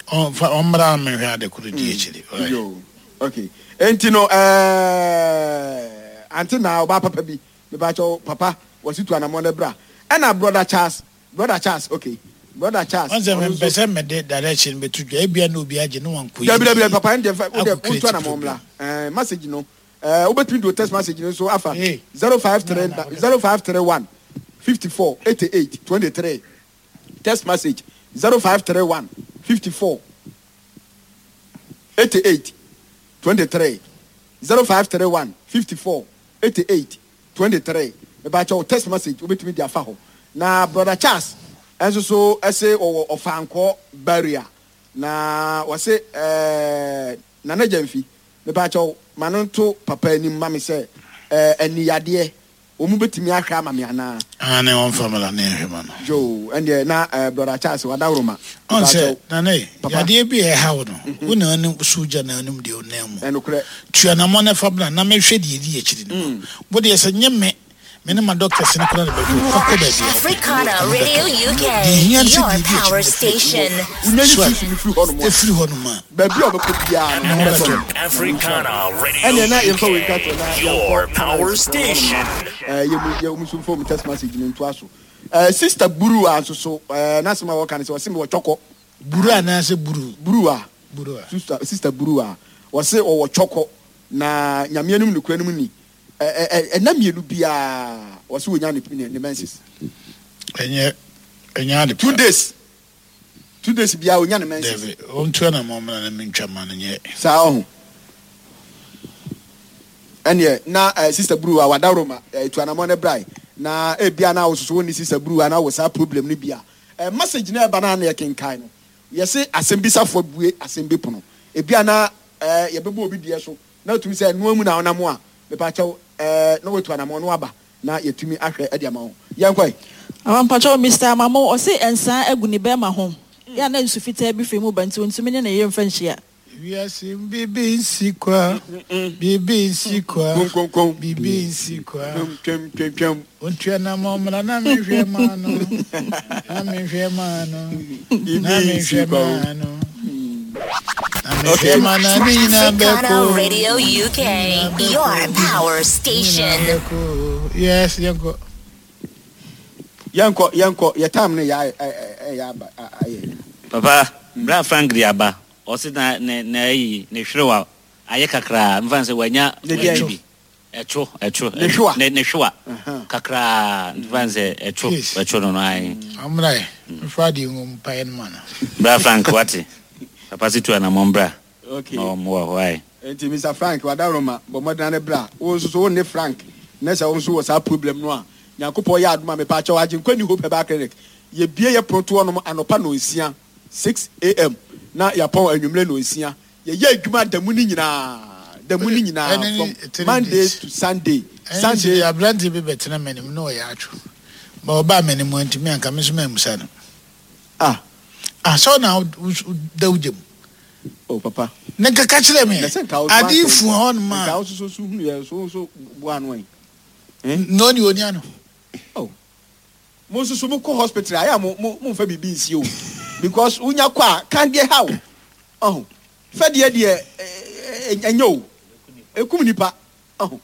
Ɔmfa ɔmmra na menhwɛ ade koro di akyiri wae. Yo okay enti no ɛɛ Ante na ɔbaa papa bi mepakyɛw papa wɔsi tu anamɔ no bra ɛna brother Charles brother Charles okay brother Charles Ɔn sɛ ɔno mempɛ nso sɛ mede direction bɛto dwa ebia na obi agye ne wankɔyi dabi ne dabi dabi yie papa ɛn deɛ fɛ wo deɛ akɔ wotu create anamɔ problem. mmra ɛɛ message no ɛɛ wobɛtumi de o text message no nso afa Hey, zero five na three na wode zero five three one fifty four eighty eight twenty three text message zero five three one fifty four eighty eight twenty three zero five three one fifty four eighty eight twenty three mebakyɛw text message wobɛtumi de afa hɔ na brother Charles ɛnso so ɛse ɔwɔ ɔfankɔ barrier na wɔse ɛɛ Nana Gyamfi mebakyɛw ma no nto papa anim ma me sɛ ɛɛ aniyadeɛ wɔn mu bɛtumi ahwɛ ama me anaa. Ane ɔmfa mmra na yɛnhwɛ ma no. Yo ɛndeɛ na ɛɛ brother Charles wadaworoma Ɔn sɛ mebakyɛw Nana yi papa yadeɛ bi a ɛha wo no wo na anim so gya na anim deɛ ɔnam mu. Ɛnokorɛ. Tua namɔ no fa bra na mehwɛ deɛ ɛdi akyiri no ma. Wo deɛ sɛ nyɛ me me ne ma doctors no koraa na bɛhwɛ wo fa kɔ baabi a wopɛ. Africana Ɛno Radio bɛtɔ. U K, Deɛ ɛhia ne sɛ your deɛ ɛdi akyiri power no afiri station. Wonya yi so a sunsum firi hɔ nom a ɛfiri hɔ nom a baabi a ɔbɛkɔ biara ne no ho ho bɛtɔ bɛtɔ no. no. Africana Radio Ɛnneɛ na yɛmfa wei nka to na U K, yɛnkɔ your power panelists no hɔ nom station. na ɛɛ yɛmu yɛmu nso mfa mu text message no ntoa so. Ɛɛ sister Buru a nso so ɛɛ n'asɛm a wɔka no sɛ ɔse mewɔ twɔkɔ. Buru anaasɛ buru? Buru a Buru a. sister sister Buru a wɔse ɔwɔ twɔkɔ na Nyame anim nokora no mu ni ɛɛ ɛɛ ɛna mmienu biara wɔse wɔnya ne ne ne menses. Ɛnyɛ ɛnyɛ ade Two pa. days two days biara wɔnya ne menses. Dabi ɔntua namɔ mmra na mentwa ma no nyɛ. Saa ɔho ɛneɛ na ɛɛ sister Buru a wadaworoma ɛɛ tu anamɔ ne brae na ebia na wososo wo ne sister Buru a na wɔ saa problem no bi a ɛɛ message na ɛba na na yɛkenkan no yɛse asɛm bisafoɔ bue asɛm bi pono ebia na ɛɛ yɛbɛbɔ obi deɛ so na otumi sɛ ɛnoa mu na ɔnam a mepakyɛw ɛɛ na watu anamɔ no aba na yɛtumi ahwɛ ɛde ama wo yɛnkɔ yi. Awampakyɛw Mister Amamo ɔse nsaa agu ne bɛrima ho yɛ na nsu fitaa bi firi mu ba nti ontumi ne ne yere mfa nhyia. Wiase bibi nsi kwa bibi nsi kwa Konkonkon. bibi nsi kwa. Twɛm twɛm twɛm twɛm. Ontua namɔ mmra na mehwɛ ma no na mehwɛ ma no na Bibi mehwɛ nsi kwa o. ma no na Okay. mehwɛ ma no ne nyinaa Africana bɛkɔ Radio U K, your power ne nyinaa station. bɛkɔ. Yes, yɛnkɔ. Yɛnkɔ yɛnkɔ yɛ time no yɛ ayɛ ɛyɛ aba ayɛ. Papa bra Frank de aba ɔse na ne na ayi ne hwerewa ayɛ kakraa mfa sɛ wanya Ne wanya deɛn? bi ɛtwo ɛtwo Ne hwewa? ne ne hwewa Aha. kakraa mfa sɛ ɛtwo Yes. ɛtwo no no ayi. Ɔmmra yɛ mfa deɛ ngu mpaeɛ no ma no. Bra Frank wate papa se tu anammɔ mbra Okay. na ɔmmoa hɔ ayi. Nti Mister Frank wadaworoma bɔ mmɔdena ne bra wo nso so wo ne Frank na sɛ wo nso wɔ saa problem no a Nyankopɔn yɛ adom a mepaakyɛw Agyenkwa New Hope Herbal Clinic yɛbie yɛ pono nom anɔpa nonsia six a m na yɛapɔn anwummerɛ nonsia. Yɛyɛ adwuma da mu no nyinaa da mu no nyinaa Ɛne from three Monday days. to Sunday. Ɛne Sunday nti aberante bi bɛtena m'anim na ɔyɛ atwo ma ɔbaa m'anim antumi anka me nso mammusa no. Ah. Ah, sɛ ɔna da wo gya mu Oh papa. Ne nkeka kyerɛ me Na sɛ nka wo ade fu hɔ nom nka a wo soso so hunu yɛ so so boa no ɛ. Na ɔne ɔni ano. Mo nso so mo kɔ hospital ayɛ a mo mo mo nfa biribi nsi o because wonya kɔ a kan deɛ ha o ɔho fɛdeɛ deɛ ɛɛ ɛnyɛ o ekum nipa ɔho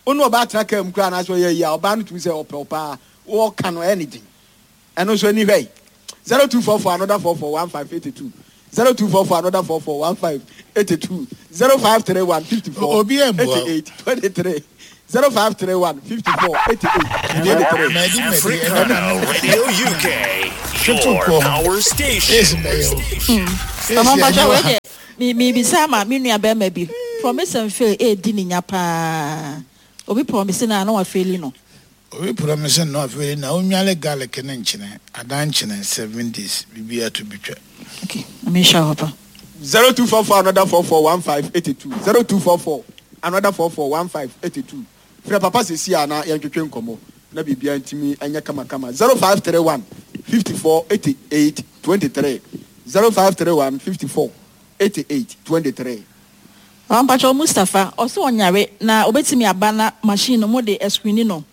onu ɔbaa tena kaa mu koraa anaasɛ ɔyɛ yi a ɔbaa no tumi sɛ ɔpɛ ɔpaa wɔɔka no ɛyɛ ne den ɛno nso ani hwɛ yi zero two four four another four four one five eighty two zero two four four another four four one five eighty two zero five three one fifty four Obi ɛmboa o. eighty eight twenty three Zero five three one fifty four eighty eight twenty three. Africana Radio U K, your power station. Mama mpakyɛ, wei deɛ mi mi bisa ama mi nua bɛrima bi, promise and fail edi ne nya paa. Obi promise na na wa fail no. Obi promise no afei na onwale garlic ne nkyene adan nkyene seven days, biribi ato bi twa. Okay, ami nhyɛ hɔ pa. Zero two four four another four four one five eighty two zero two four four another four four one five eighty two. Frɛ papa sisi a na yɛntwetwe nkɔmɔ na biribiara ntumi nyɛ kamakama. Zero five three one fifty four eighty eight twenty three, zero five three one fifty four eighty eight twenty three. Mama mpakyɛ, Mustapha ɔsɛ ɔnyare na obetumi aba na machine no mo de ɛ screen no?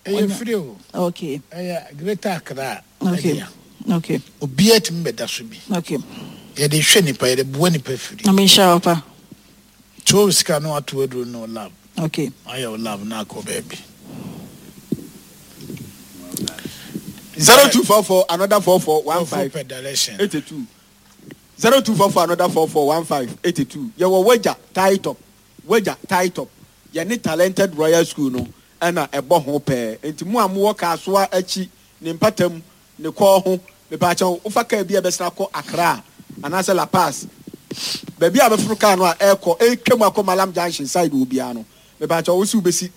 Ɛyɛ free o. Okay. Ɛyɛ Greater Accra. Okay. Ɛdea okay obiara tumi bɛda so bi. Okay. Yɛde hwɛ nipa, yɛde boa nipa firi. Ami nhyɛ hɔ pa. Tuo sika no ato aduro no lab. Okay. Ayɛ wo lab na akɔ baabi. Zero two four four another four four one Ɔfo five pɛ direction. eighty two, zero two four four another four four one five eighty two. Yɛwɔ Wagya tie top, Wagya tie top, yɛne Talented Royal School no ɛna ɛbɔ ho pɛɛ. Nti mu a mowɔ Kaasoa akyi ne mpatam ne kɔɔ ho, mepaakyɛw, wofa kaa bi a ɛbɛsena kɔ Accra anaasɛ La Paz, baabi a bɛforo kaa no a ɛrekɔ ɛretwa mu akɔ Malam Junction side wɔ biara no, mepaakyɛw, wosi wobɛsi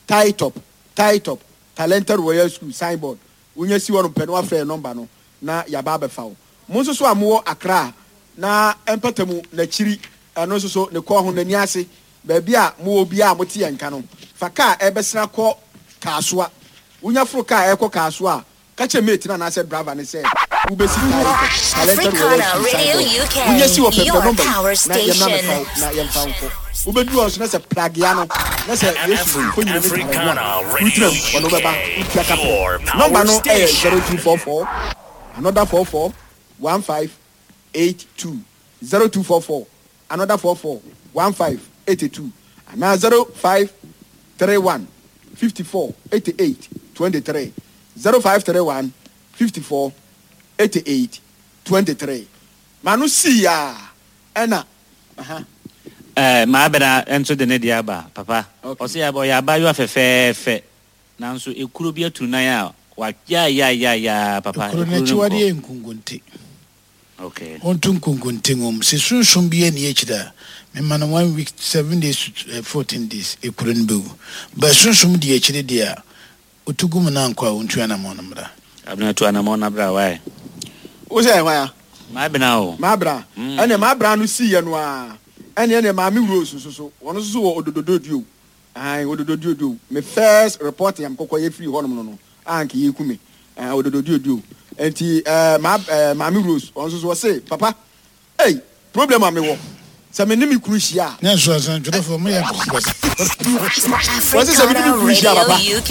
tie top, tie top, Talented Royal School signboard. Wonya si hɔ no pɛ no, wafrɛ number no na yaba abɛfa wo. Mo nso so a mowɔ Accra na mpatamu n'akyiri, ɛno nso so ne kɔn ho n'ani ase, baabi a mowɔ biara a mote yɛn nka no, fa kaa ɛbɛsena kɔ Kaasoa. Wonya foro kaa ɛkɔ Kaasoa a, ka kyerɛ mate no anaasɛ driver ne sɛ wobɛsi Talented Royal Africana School Radio signboard. U K, Wonya si wɔ pɛpɛ your number yi power na yɛmna mɛfa wo station. na yɛmfa wo nkɔ. Wobɛduru hɔ nso na sɛ pragea no na sɛ Yesu mfonyini ne Africana tare ho a Radio wotena mu, ɔno wobɛba wotua U K, kapɛ. your Number power no ɛyɛ station. zero two four four another four four one five eight two, zero two four four another four four one five eighty two anaa zero five three one fifty four eighty eight twenty three, zero five three one fifty four eighty eight twenty three. Maa no sii a ɛna aha. Ɛɛ, maa bɛna nso de ne deɛ aba, papa. Okay. Ɔsɛ yaba ɔyɛ abaayewa fɛfɛɛfɛ, nanso ekuro bi atu nan a wayayayayaa, papa. Ekuro ekuro no no akyiwadeɛ nkɔ. yɛ nkonkonte. Okay. Ɔnto nkonkonte ngom sɛ sunsum bi ani akyire a, mema no one week, seven days to eh, fourteen days, ekuro no bɛwu. Ba sunsum di akyire deɛ a, otu gu mu na ankɔ a, ɔntu anammɔn no mmra. Abena, tu anamɔ na bra wae. Wo sɛ ɛhwan a? Maa bɛna o. Maa bra. Ɛnna maa bra no sii yɛ no a, ɛnna ɛnna Maame Rose nso so, ɔno nso so wɔ Ododododio ayi, Ododododio. Me first report yam kɔkɔ yɛ firi hɔnom no no a nka yɛ ku me ɛɛ Ododododio. Nti ɛɛ maa ɛɛ Maame Rose, ɔno nso so ɔse, papa, ɛy problem a mi wɔ sɛ me ne mi kunu hyia a. Ne nso asɛntwerɛfoɔ moyɛ nkɔnkɔs. Wɔsi sɛ mi ne mi Africana kunu hyia, Radio papa, U K,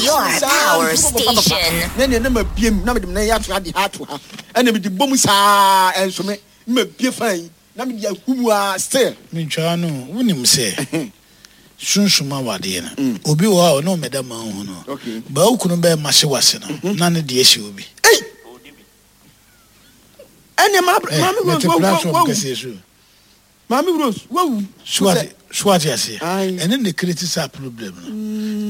your power station. Ne ne ne ma bie mu na mede me nan ato ha de ha ato ha, ɛna mede bɔ mu saa, ɛnso me ne ma bie fan yi na mede ahu mu a, still. Mentwaa no, wonim sɛ sunsum awadeɛ no, obi wɔ hɔ a ɔne ɔmɛda ma wohu no. Okay. Baa wo kunu bɛɛ ma hye wase no na ne deɛ hyɛ obi. Ei, ɛnna maa Eh, Maame Rose mete wawu. platform Wawu. kɛseɛ so. Maame Rose wawu. So wate aseɛ? Aye. Ɛne ne create saa problem no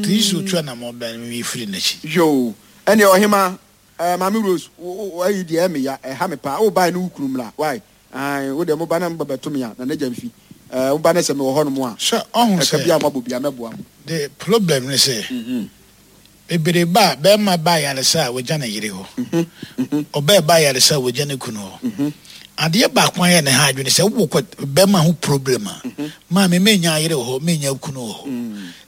nti yi sɛ otu anammɔ bɛn no firi n'akyi. Yo, ɛnna ɔhema ɛɛ Maame Rose, wo wo ayi deɛ ɛmi ya ɛha mi paa. O ba ne wo kunu mla wae ayi wo deɛ mo ba na mo ba bɛto mi a na ne gya nfi ɛɛ mo ba ne sɛ mi wɔ hɔ nom a. Sɛ ɔho ɛka bi a sɛ mo abɔ bi a mɛboa mo. The problem ne sɛ bebree ba a, bɛrima ba ayaresa a, wɔgya ne yere hɔ. Ɔbaa ba ayaresa a, wɔgya ne kunu hɔ. Adeɛ baako ayɛ ne ha adwene sɛ wowɔ kɔ bɛrima ho problem a, maame menya ayere wɔ hɔ, menya kunu wɔ hɔ.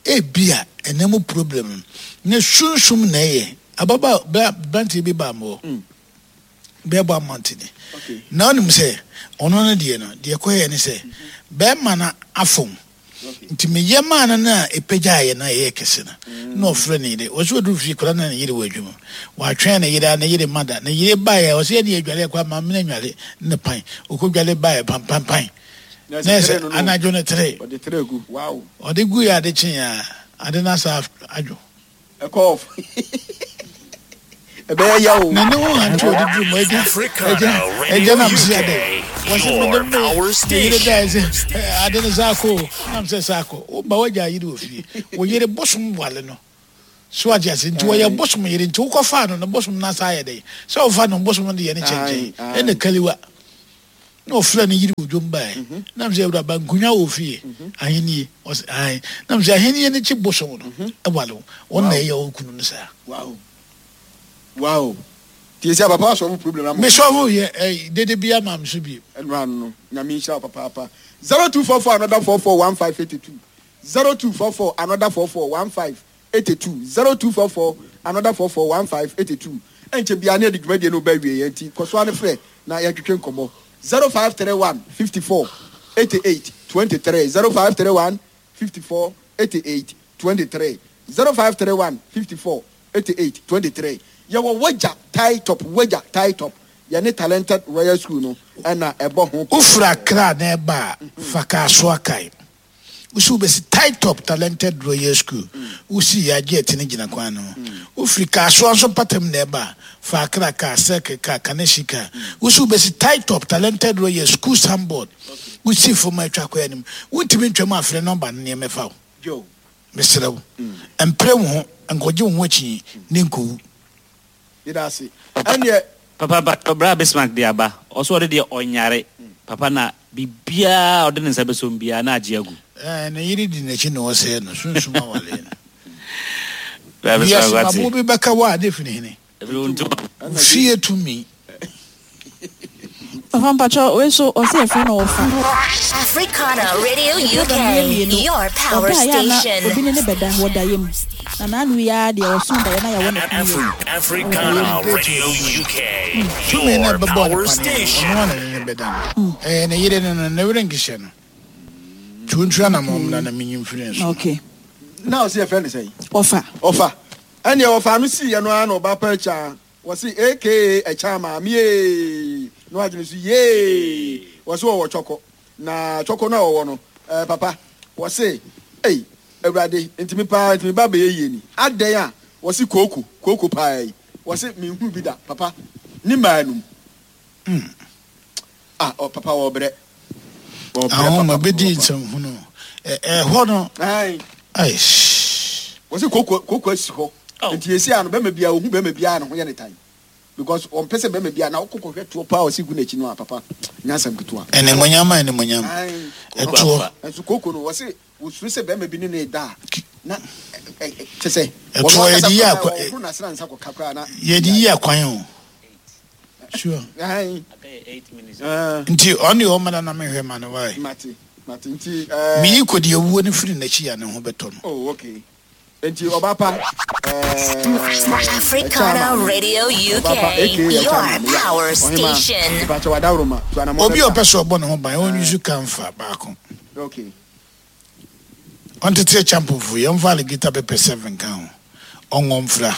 Ebia ɛnɛ mu problem no ne sunsum na ɛyɛ ababa aberanteɛ bi baa mɔ bɛɛbɔ amantene. Okay. Na ɔnim sɛ ɔno no deɛ no deɛ kɔyɛ ne sɛ bɛrima no afom, nti meyɛ maa no no a ɛpagyaeɛ no a ɛyɛ kɛse no na ɔfrɛ ne yere. Ɔsɛ ɔduru fie kora na ne yere wɔ adwuma. Watwɛn ne yere a ne yere ma da. Ne yere baeɛ, ɔsɛ yɛne yɛdware kɔ ama mene nware ne pan. Ɔkɔdware baeɛ pampampan na na ɛsɛ tere no no anadwo no tere. Ɔde tere gu, wow. Ɔde gu yɛ ade kye a, ade no asa adwo. Ɛkɔ off. Ɛbɛyɛ ya o. Na ne ho ante ɔde duru mu agya agya agya nam si ade. Wɔsi me ne me yere da ɛsɛ ade ne saako nam sɛ saako. Wo ba wagya yere wɔ fie. Wo yere bosom wale no. So ate ase nti wɔyɛ bosom yere nti wokɔfaa no no bosom no asa ayɛ dɛn sɛ wofa no bosom no de yɛ ne kyɛnkyɛn ɛna kaliwa. Na ɔfrɛ ne yere wɔ dwom bae. Nam sɛ awuraba nkonwa wɔ fie ahennie ɔsɛ ae. Nam sɛ ahennie no kye bosom no ɛwale wo. Wɔn na ɛyɛ wo kunu no saa. Wow. Wow. Tie sɛ papa asɔfo problem ama. Me sɔfo yɛ eh, dede bi ama me so bi. Ɛno ano no, Nyame nhyira wo papaapa. Zero two four four another four four one five eighty two. Zero two four four another four four one five eighty two. Zero two four four another four four one five eighty two. Ɛnkyɛ biara ne yɛde dwumadie no ba awieɛ nti kɔ so ara ne frɛ na yɛntwetwe nkɔmmɔ. Zero five three one fifty four eighty eight twenty three. Zero five three one fifty four eighty eight twenty three. Zero five three one fifty four eighty eight twenty three. Yɛwɔ Wagya Tie Top, Wagya Tie Top. Yɛne Talented Royal School no ɛna ɛbɔ ho. Wofiri Accra na ɛba a, fa Kasoa kae. Wosi wobɛsi Tie Top Talented Royal School. Wosi yɛ agye ɛte no gyina kwan no ho. Wofiri Kasoa nso mpatam na ɛba a, fa Accra kaa, Circle kaa, Kaneshie kaa. Wosi wobɛsi Tie Top Talented Royal School signboard. Wosi fam a atwa kɔ anim. Wontumi ntwam a, frɛ nɔmba no na yɛmmɛfa wo. Mesrɛ wo, mpere wo ho, nkɔgye wo ho akyi ne nkɔwu. Yɛda ase. Ɛnneɛ. Papa ba bra Bismarck de aba. Ɔso ɔde deɛ ɔnyare. Papa na biribiara ɔde ne nsa bɛsom biara na agye agu. Ɛɛ ne yere di n'akyi na ɔsɛe no sunsum awale no. Bra Bismarck Wiase wate. mabo bi bɛka wo a ne firi hene. Ɛfiri wo ntoma. Fie tumi. Papa mpacho we so ɔsɛ yɛfrɛ no ɔfa. Africana Radio Program yɛ U K, mmienu. your power Ɔbaa yɛ a na station. obi ne ne bɛda wɔ daeɛ mu. Na n'ano yi ara deɛ ɔso daeɛ na yɛwɔ ne kɔn yɛ. Africana Radio U K, Tumi na your ɛbɛbɔ ne power paneɛ no, station. ɔno ara na ne ne bɛda no. Ɛyɛ ne yere no no, ne werɛ nkehyɛ no. Tuontua na mɔmna na menyi mfiri nso. Okay. Na ɔsɛ yɛfrɛ no sɛn? Ɔfa. Ɔfa. Ɛnneɛ ɔfa no siiɛ no ara na ɔba pa akyi wɔse aka ɛkyɛ maame yee na wagyene so yee wɔse wɔwɔ twɔkɔ na twɔkɔ no a wɔwɔ no eh, papa wɔse ei awurade ntimi paa ntimi ba bɛyɛ yie ni adɛn a wɔse kooko kooko paa yi wɔse menhunu bi da papa ne maa num mm. Ah oh, papa wɔbrɛ wɔbrɛ Ahoma bɛdi nsɛmhunu ɛhɔ no ai ai wɔse kooko kooko asi hɔ nti yɛsi ano bɛma bia ohu bɛma bia ne ho yɛ ne tan because ɔmpɛ sɛ bɛma bia na wokɔ kɔhwɛ toɔ paa ɔsi gu n'akyi no a papa nyansɛm ketewa ɛnimonyam a ɛnimonyam ɛtoɔ nso kooko no wɔse wɔsuro sɛ bɛma bi ne ne da a na kyɛ sɛ ɛtoɔ yɛde yi akwa ɔhoro n'asena nsa kɔka koraa na yɛde yi akwan o sure nti ɔne ɔmana na mehwɛ ma no wae mate mate nti meyi kɔdi awuo no firi n'akyi a ne ho bɛtɔ no. Oh okay. Nti ɔba pa Africana Radio U K, your power station. Obi a ɔpɛ sɛ ɔbɔ ne ho ban ɔnyi kamfa baako. Okay. Ɔntete champofo yɛmfa alligator pepper seven ka ho. Ɔngɔ mfra.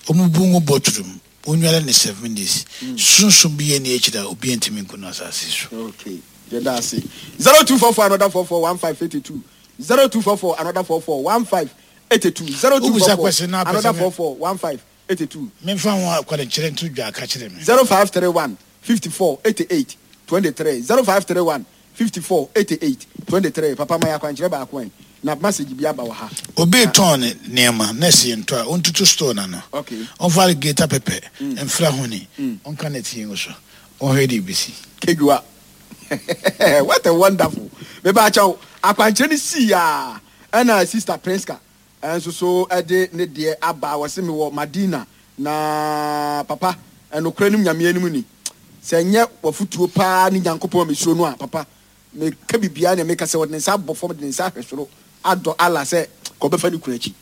Ɔmubu ngo bɔturum. Onware ne seven days. Sunsun bi yɛ ne akyiri a obi ntumi nko no asase so. Okay. Yɛda ase. zero two four four another four four one five eight two. zero two four four another four four one five eight two. zero two four four another four four one five eight two. Memfa ho akwankyerɛ nto dwa aka kyerɛ me. zero five three one fifty four eighty eight twenty three. zero five three one fifty four eighty eight twenty three. Papa ma akwankyerɛ baako ɛ na message bi aba wɔ ha. Obi tɔn ne nneɛma na ɛsi ntɔ a ɔntutu store na no. Okay. Ɔmfa alligator pepper mfra ho ni ɔnka ne tie ngo so ɔnhwɛ de bisi. Kedua. What a wonderful. Meba akyɛw akwankyerɛ ne si ya ɛna sister Prinska ɛnso so ɛde ne deɛ aba wɔse me wɔ Madina na papa ɛnokora nim nyame anim ni sɛ nyɛ wafutuo paa ne Nyankopɔn mesuro no a papa meka bibia ne meka sɛ wɔde ne nsa abɔ fam de ne nsa ahwɛ soro adɔ Allah sɛ kɔbɛfa ne kunu akyi.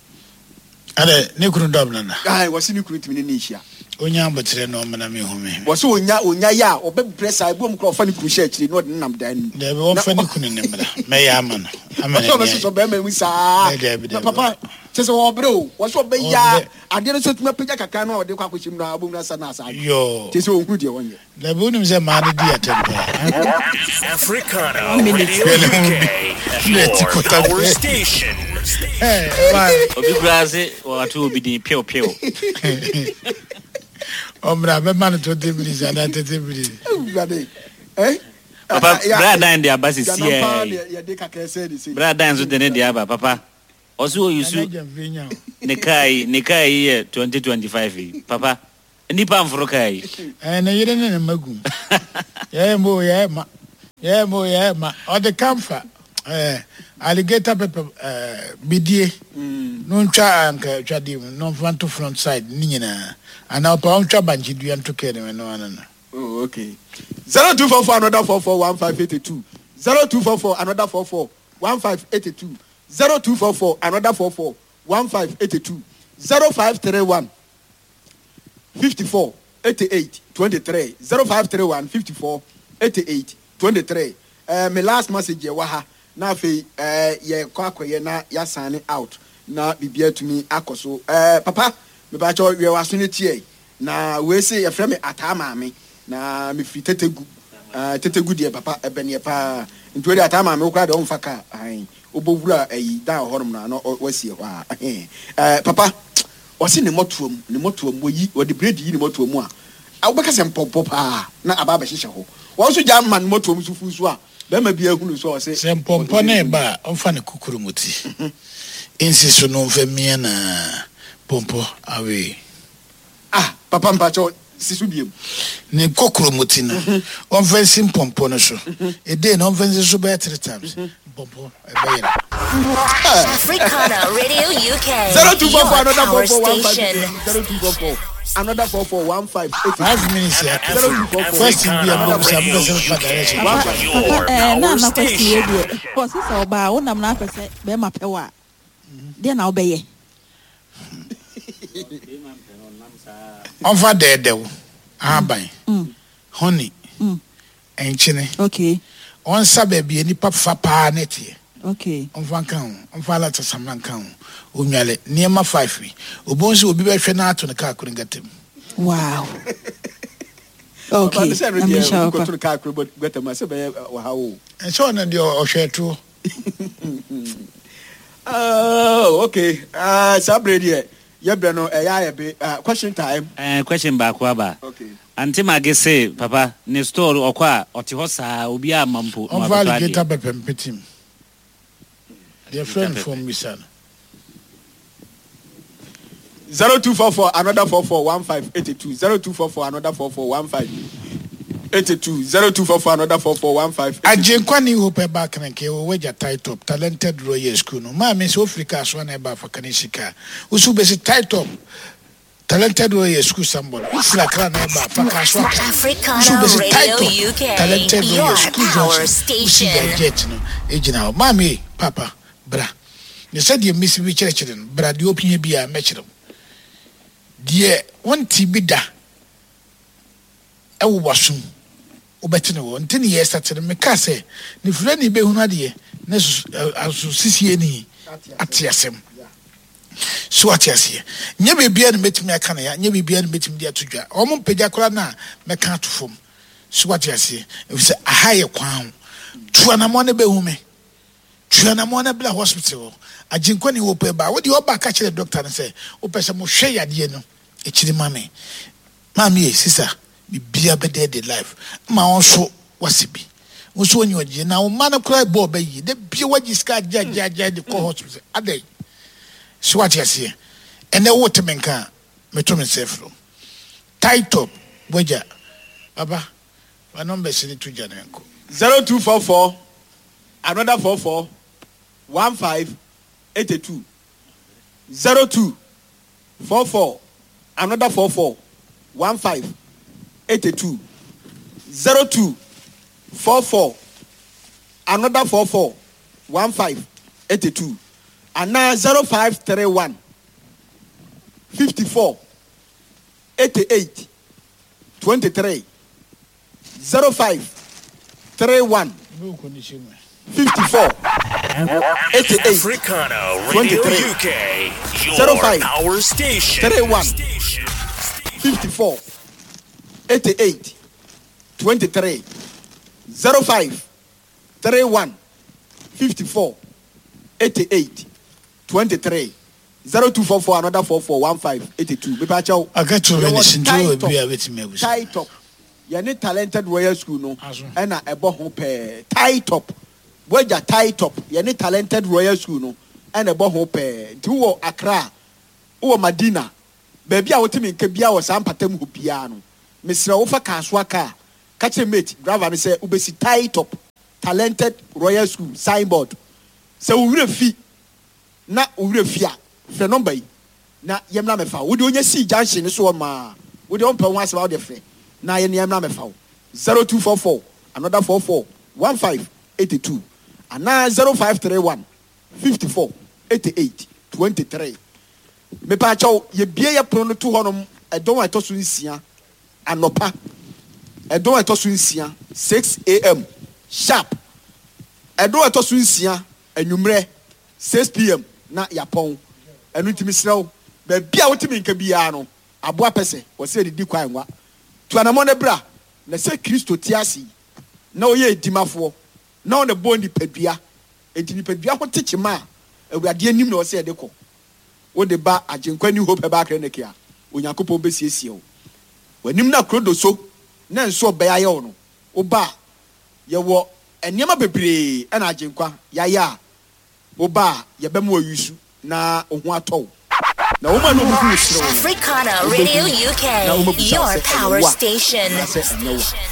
Ade ne kunu dɔm nana. Ai wɔse ne kunu tumi ne ne nhyia. Onya abotere na ɔmena me hu me. Wɔse onya onya ya ɔbɛbrɛ saa ebi wɔn kora ɔfa ne kunu hyɛ akyire na ɔde ne nam dan mu. Dabi wɔmfa ne kunu ne mmra mɛyɛ ama no. Ama ne ɔbɛsosɔ bɛrima mu saa. Dabi dabi. Papa kyɛ sɛ ɔbrɛ o wɔse ɔbɛya adeɛ no so tumi apagya kakra na ɔde kɔ akɔhyɛ mu na abom na asa na asa. Yo. Kyɛ sɛ ɔhunu deɛ wɔnyɛ. Dabi wonim sɛ maa no di atɛm paa. Africana Radio U K, your power station. Obi kura se wɔato obi din pew pew. Ɔmmra bɛma no twenty minutes anaa thirty minutes. Awurade eh Papa, bra dan de aba sisi Gyanam paa ɛ. deɛ yɛde kakra sɛ de sei. Bra dan nso de ne de aba papa. Ɔso oyi Nana su Gyamfi nya o. ne kaa yi ne kaa yi yɛ twenty twenty five yi papa. Nipa nforo kaa yi. Ɛɛ ne yere ne ne mma gum. Yɛyɛ mo yɛyɛ ma. Yɛyɛ mo yɛyɛ ma. Ɔde kamfa ɛɛ alligator pepper ɛɛ bidie. No ntwa anka twadeɛ mu na ɔmfa nto front side ne nyinaa. Anaa ɔpa ɔntwa bankye dua nto kɛɛ ne mu ɛno ano no. Oh, okay. Zero two four four another four four one five eighty two. Zero two four four another four four one five eighty two. Zero two four four another four four one five eighty two. Zero five three one fifty four eighty eight twenty three. Zero five three one fifty four eighty eight twenty three. Uh, my last message yɛ wɔ ha na afei uh, yɛ kɔ akɔyɛ na yɛasane out na biribi atumi akɔ so. Uh, papa mebakyɛ wiɛ waso ne tie na wei se yɛfrɛ me ataa maame na mefiri tetegu. Uh, tetegu deɛ papa ɛbɛneɛ paa nti wei deɛ ataa maame wo koraa deɛ ɔmfa kaa ahan wobɔwura ayi dan wɔ hɔnom no ano wasie hɔ a ɛhɛn. Uh, papa ɔse ne mmɔtoam ne mmɔtoam wɔyi wɔde bredi yi ne mmɔtoam mu a a wobɛka sɛ mpɔmpɔ paa na aba abɛhyehyɛ hɔ wɔn nso gya ma ne mmɔtoam so fu so a bɛrima bi ahunu so a ɔse Sɛ mpɔmpɔ ne ba a ɔmfa ne kukuru mu ti. Nsi so no ɔmfa mia na pɔmpɔ awee. Ah papa mpakyɛw si so biem. Ne kokoro mu ti no ɔmfa nsi mpɔmpɔ no so. Ede na ɔmfa nsi so bɛyɛ three times. Mpɔmpɔ ɛbɛyɛ no. Africana Radio U K, zero two four four your another power four four one five station. zero two four four another four four one five eight Five minutes yɛ aka. zero two four four Question bi a mbɔ bisa mbɛ sɛ fa direction. one five. Your Papa ɛɛ na power ana question yɛ station. deɛ ɔsi sɛ ɔbaa wonam na apɛ sɛ bɛrima pɛ wɔ a deɛ na wobɛyɛ. Ɔmfa dɛɛdɛw ahaban honey nkyene. Okay. Ɔnsa baabi a nipa fa paa ne teɛ. Okay. Ɔmfa nka ho, ɔmfa alatasamina nka ho, onwale nneɛma five yi obo nso obi bɛhwɛ na ato ne kaa koro nkata mu. Wow. Papa Okay. ne sɛ no Na deɛ mehyɛ wo pa. wokɔto no kaa koro gutter mu a sɛ bɛyɛ ɔha o. Ɛsɛ ɔno deɛ ɔhwɛ toɔ. Oh, okay. Uh, saa berɛ deɛ yɛbrɛ no ɛyɛ ayɛ be uh, question time. Ɛɛ question baako aba. Okay. Auntie Maggie se papa ne store ɔkɔ a ɔte hɔ saa obi a ma mpo na Ɔmfa wabɛtɔ alligator adeɛ. pepper mpetim deɛ frɛ no fam bisa no. Zero two four four another four four one five eighty two zero two four four another four four one five eighty two zero two four four another four four one five. Agyenkwa ne Hope ɛba keneke wɔ wagya tie top Talented Royal School no maame sɛ wofiri kaa so ana ɛba afa kane sika woso wobɛsi tie top Talented Royal School sambɔ no wofiri Akra na ɛba afa kaa so aka Africana woso wobɛsi tie Radio top U K, Talented Royal your School power junction wosi station. jet no ɛgyina hɔ. Maame, papa, bra ne sɛdeɛ mmesi bi kyerɛkyerɛ no bra deɛ ɔpia bi a mɛkyerɛ wo deɛ wɔnte bi da ɛwɔ wasom wobɛte ne wɔ nti ne yɛ sate no meka sɛ ne fira ne bɛhunu adeɛ ne aso sisie ni ate asɛm so ate aseɛ nyɛ biribia ne mɛtumi aka ne ya nyɛ biribia ne mɛtumi de ato dwa ɔmo mpagya koraa no a mɛka ato fam so ate aseɛ ɛfiri sɛ aha yɛ kwan ho tu anammɔ ne bɛhu me tu anammɔ ne bla hospital hɔ Agyenkwa ne wɔ pɛ ba wode ɔba ka kyerɛ doctor no sɛ wopɛ sɛ mohwɛ yadeɛ no akyiri ma me maame yɛ sisa bibia bɛdɛ de life ma wɔn nso wase bi wo nso wɔnyɛ ɔgye na wo mma no koraa bɔ ɔbɛ yie de bia wagye sika agye agye agye de kɔ hospital adɛn so wate aseɛ ɛnɛ wote me nka a meto me nsa afiri tie top wagya baba fa numbers ne to gya ne nkɔ. Zero two four four another four four one five eighty two zero two four four another four four one five eighty two zero two four four another four four one five eighty two anaa zero five three one fifty four eighty eight twenty three zero five three one fifty four eighty eight Africana Radio twenty-three. U K, your Zero five. power station. three one fifty four eighty eight twenty three zero five three one fifty four eighty eight twenty three. Zero two four four another four four one five eighty two. Mepa kyɛw. Aka two Yɛwɔ minutes nti Tie wɔ Top. bi a bɛtumi abusa. Tie Top. Yɛne Talented Royal School no Aso. ɛna ɛbɔ ho pɛɛ. Tie Top. Wagya Tie Top. Yɛne Talented Royal School no ɛna ɛbɔ ho pɛɛ. Nti wowɔ Accra, wowɔ Madina, baabi a wotumi nka biara wɔ saa mpatam hɔ biara no, mesrɛ wo fa Kasoa kaa. Ka kyerɛ mate driver no sɛ wobɛsi Tie Top Talented Royal School signboard. Sɛ wo werɛ fi na wo werɛ fi a, frɛ nɔmba yi na yɛmmra mɛfa wo. Wode onya sii junction no so hɔ maa wode ɔmpɛ ho asɛm a wode frɛ na yɛne yɛmmra mɛfa wo. zero two four four another four four one five eighty two anaa zero five three one fifty four eighty eight twenty three. Mepaakyɛw, yɛbie yɛ pono no to hɔnom ɛdɔn a ɛtɔ so nsia anɔpa, ɛdɔn a ɛtɔ so nsia six a.m. sharp, ɛdɔn a ɛtɔ so nsia anwummerɛ six p.m. na yɛapɔn. Ɛno nti mesrɛ wo, baabi a wotumi nka biara no, aboa pɛ sɛ wɔsɛ yɛdidi kwan nwa tu anammɔ no bra na sɛ Kristo te ase yi na ɔyɛ edimafoɔ na ɔna bɔ nipadua, enti nipadua ho te kyema a Awurade anim na ɔsɛ yɛde kɔ. Wode ba Agyenkwa New Hope Herbal Clinic a, Onyankopɔn bɛsiesie wo. W'anim na kuro do so na nso ɔbɛyɛ ayɛ wo no, woba a yɛwɔ nneɛma bebree ɛna Agyenkwa yɛayɛ a woba a yɛbɛma wayusu na wo ho atɔ wo. Na wɔn a na wɔn ho serew no, Africana wobɛhu Radio na U K, wɔmabisa wo your sɛ ɛyɛ power wo a station. anaasɛ ɛnyɛ wo a.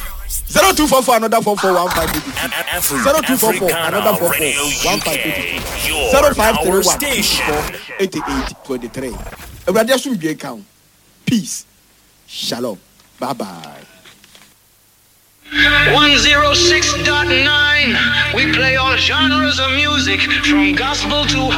Zero two four four another four four one five eighty two. Afri- Zero two four four Africana another four four Radio one five U K, eighty two. your Zero five three power one fifty station. four eighty eight twenty three. Awurade asomdwe ka wo. Peace. Shalom. Bye bye. one oh six point nine. We play all genres of music from gospel to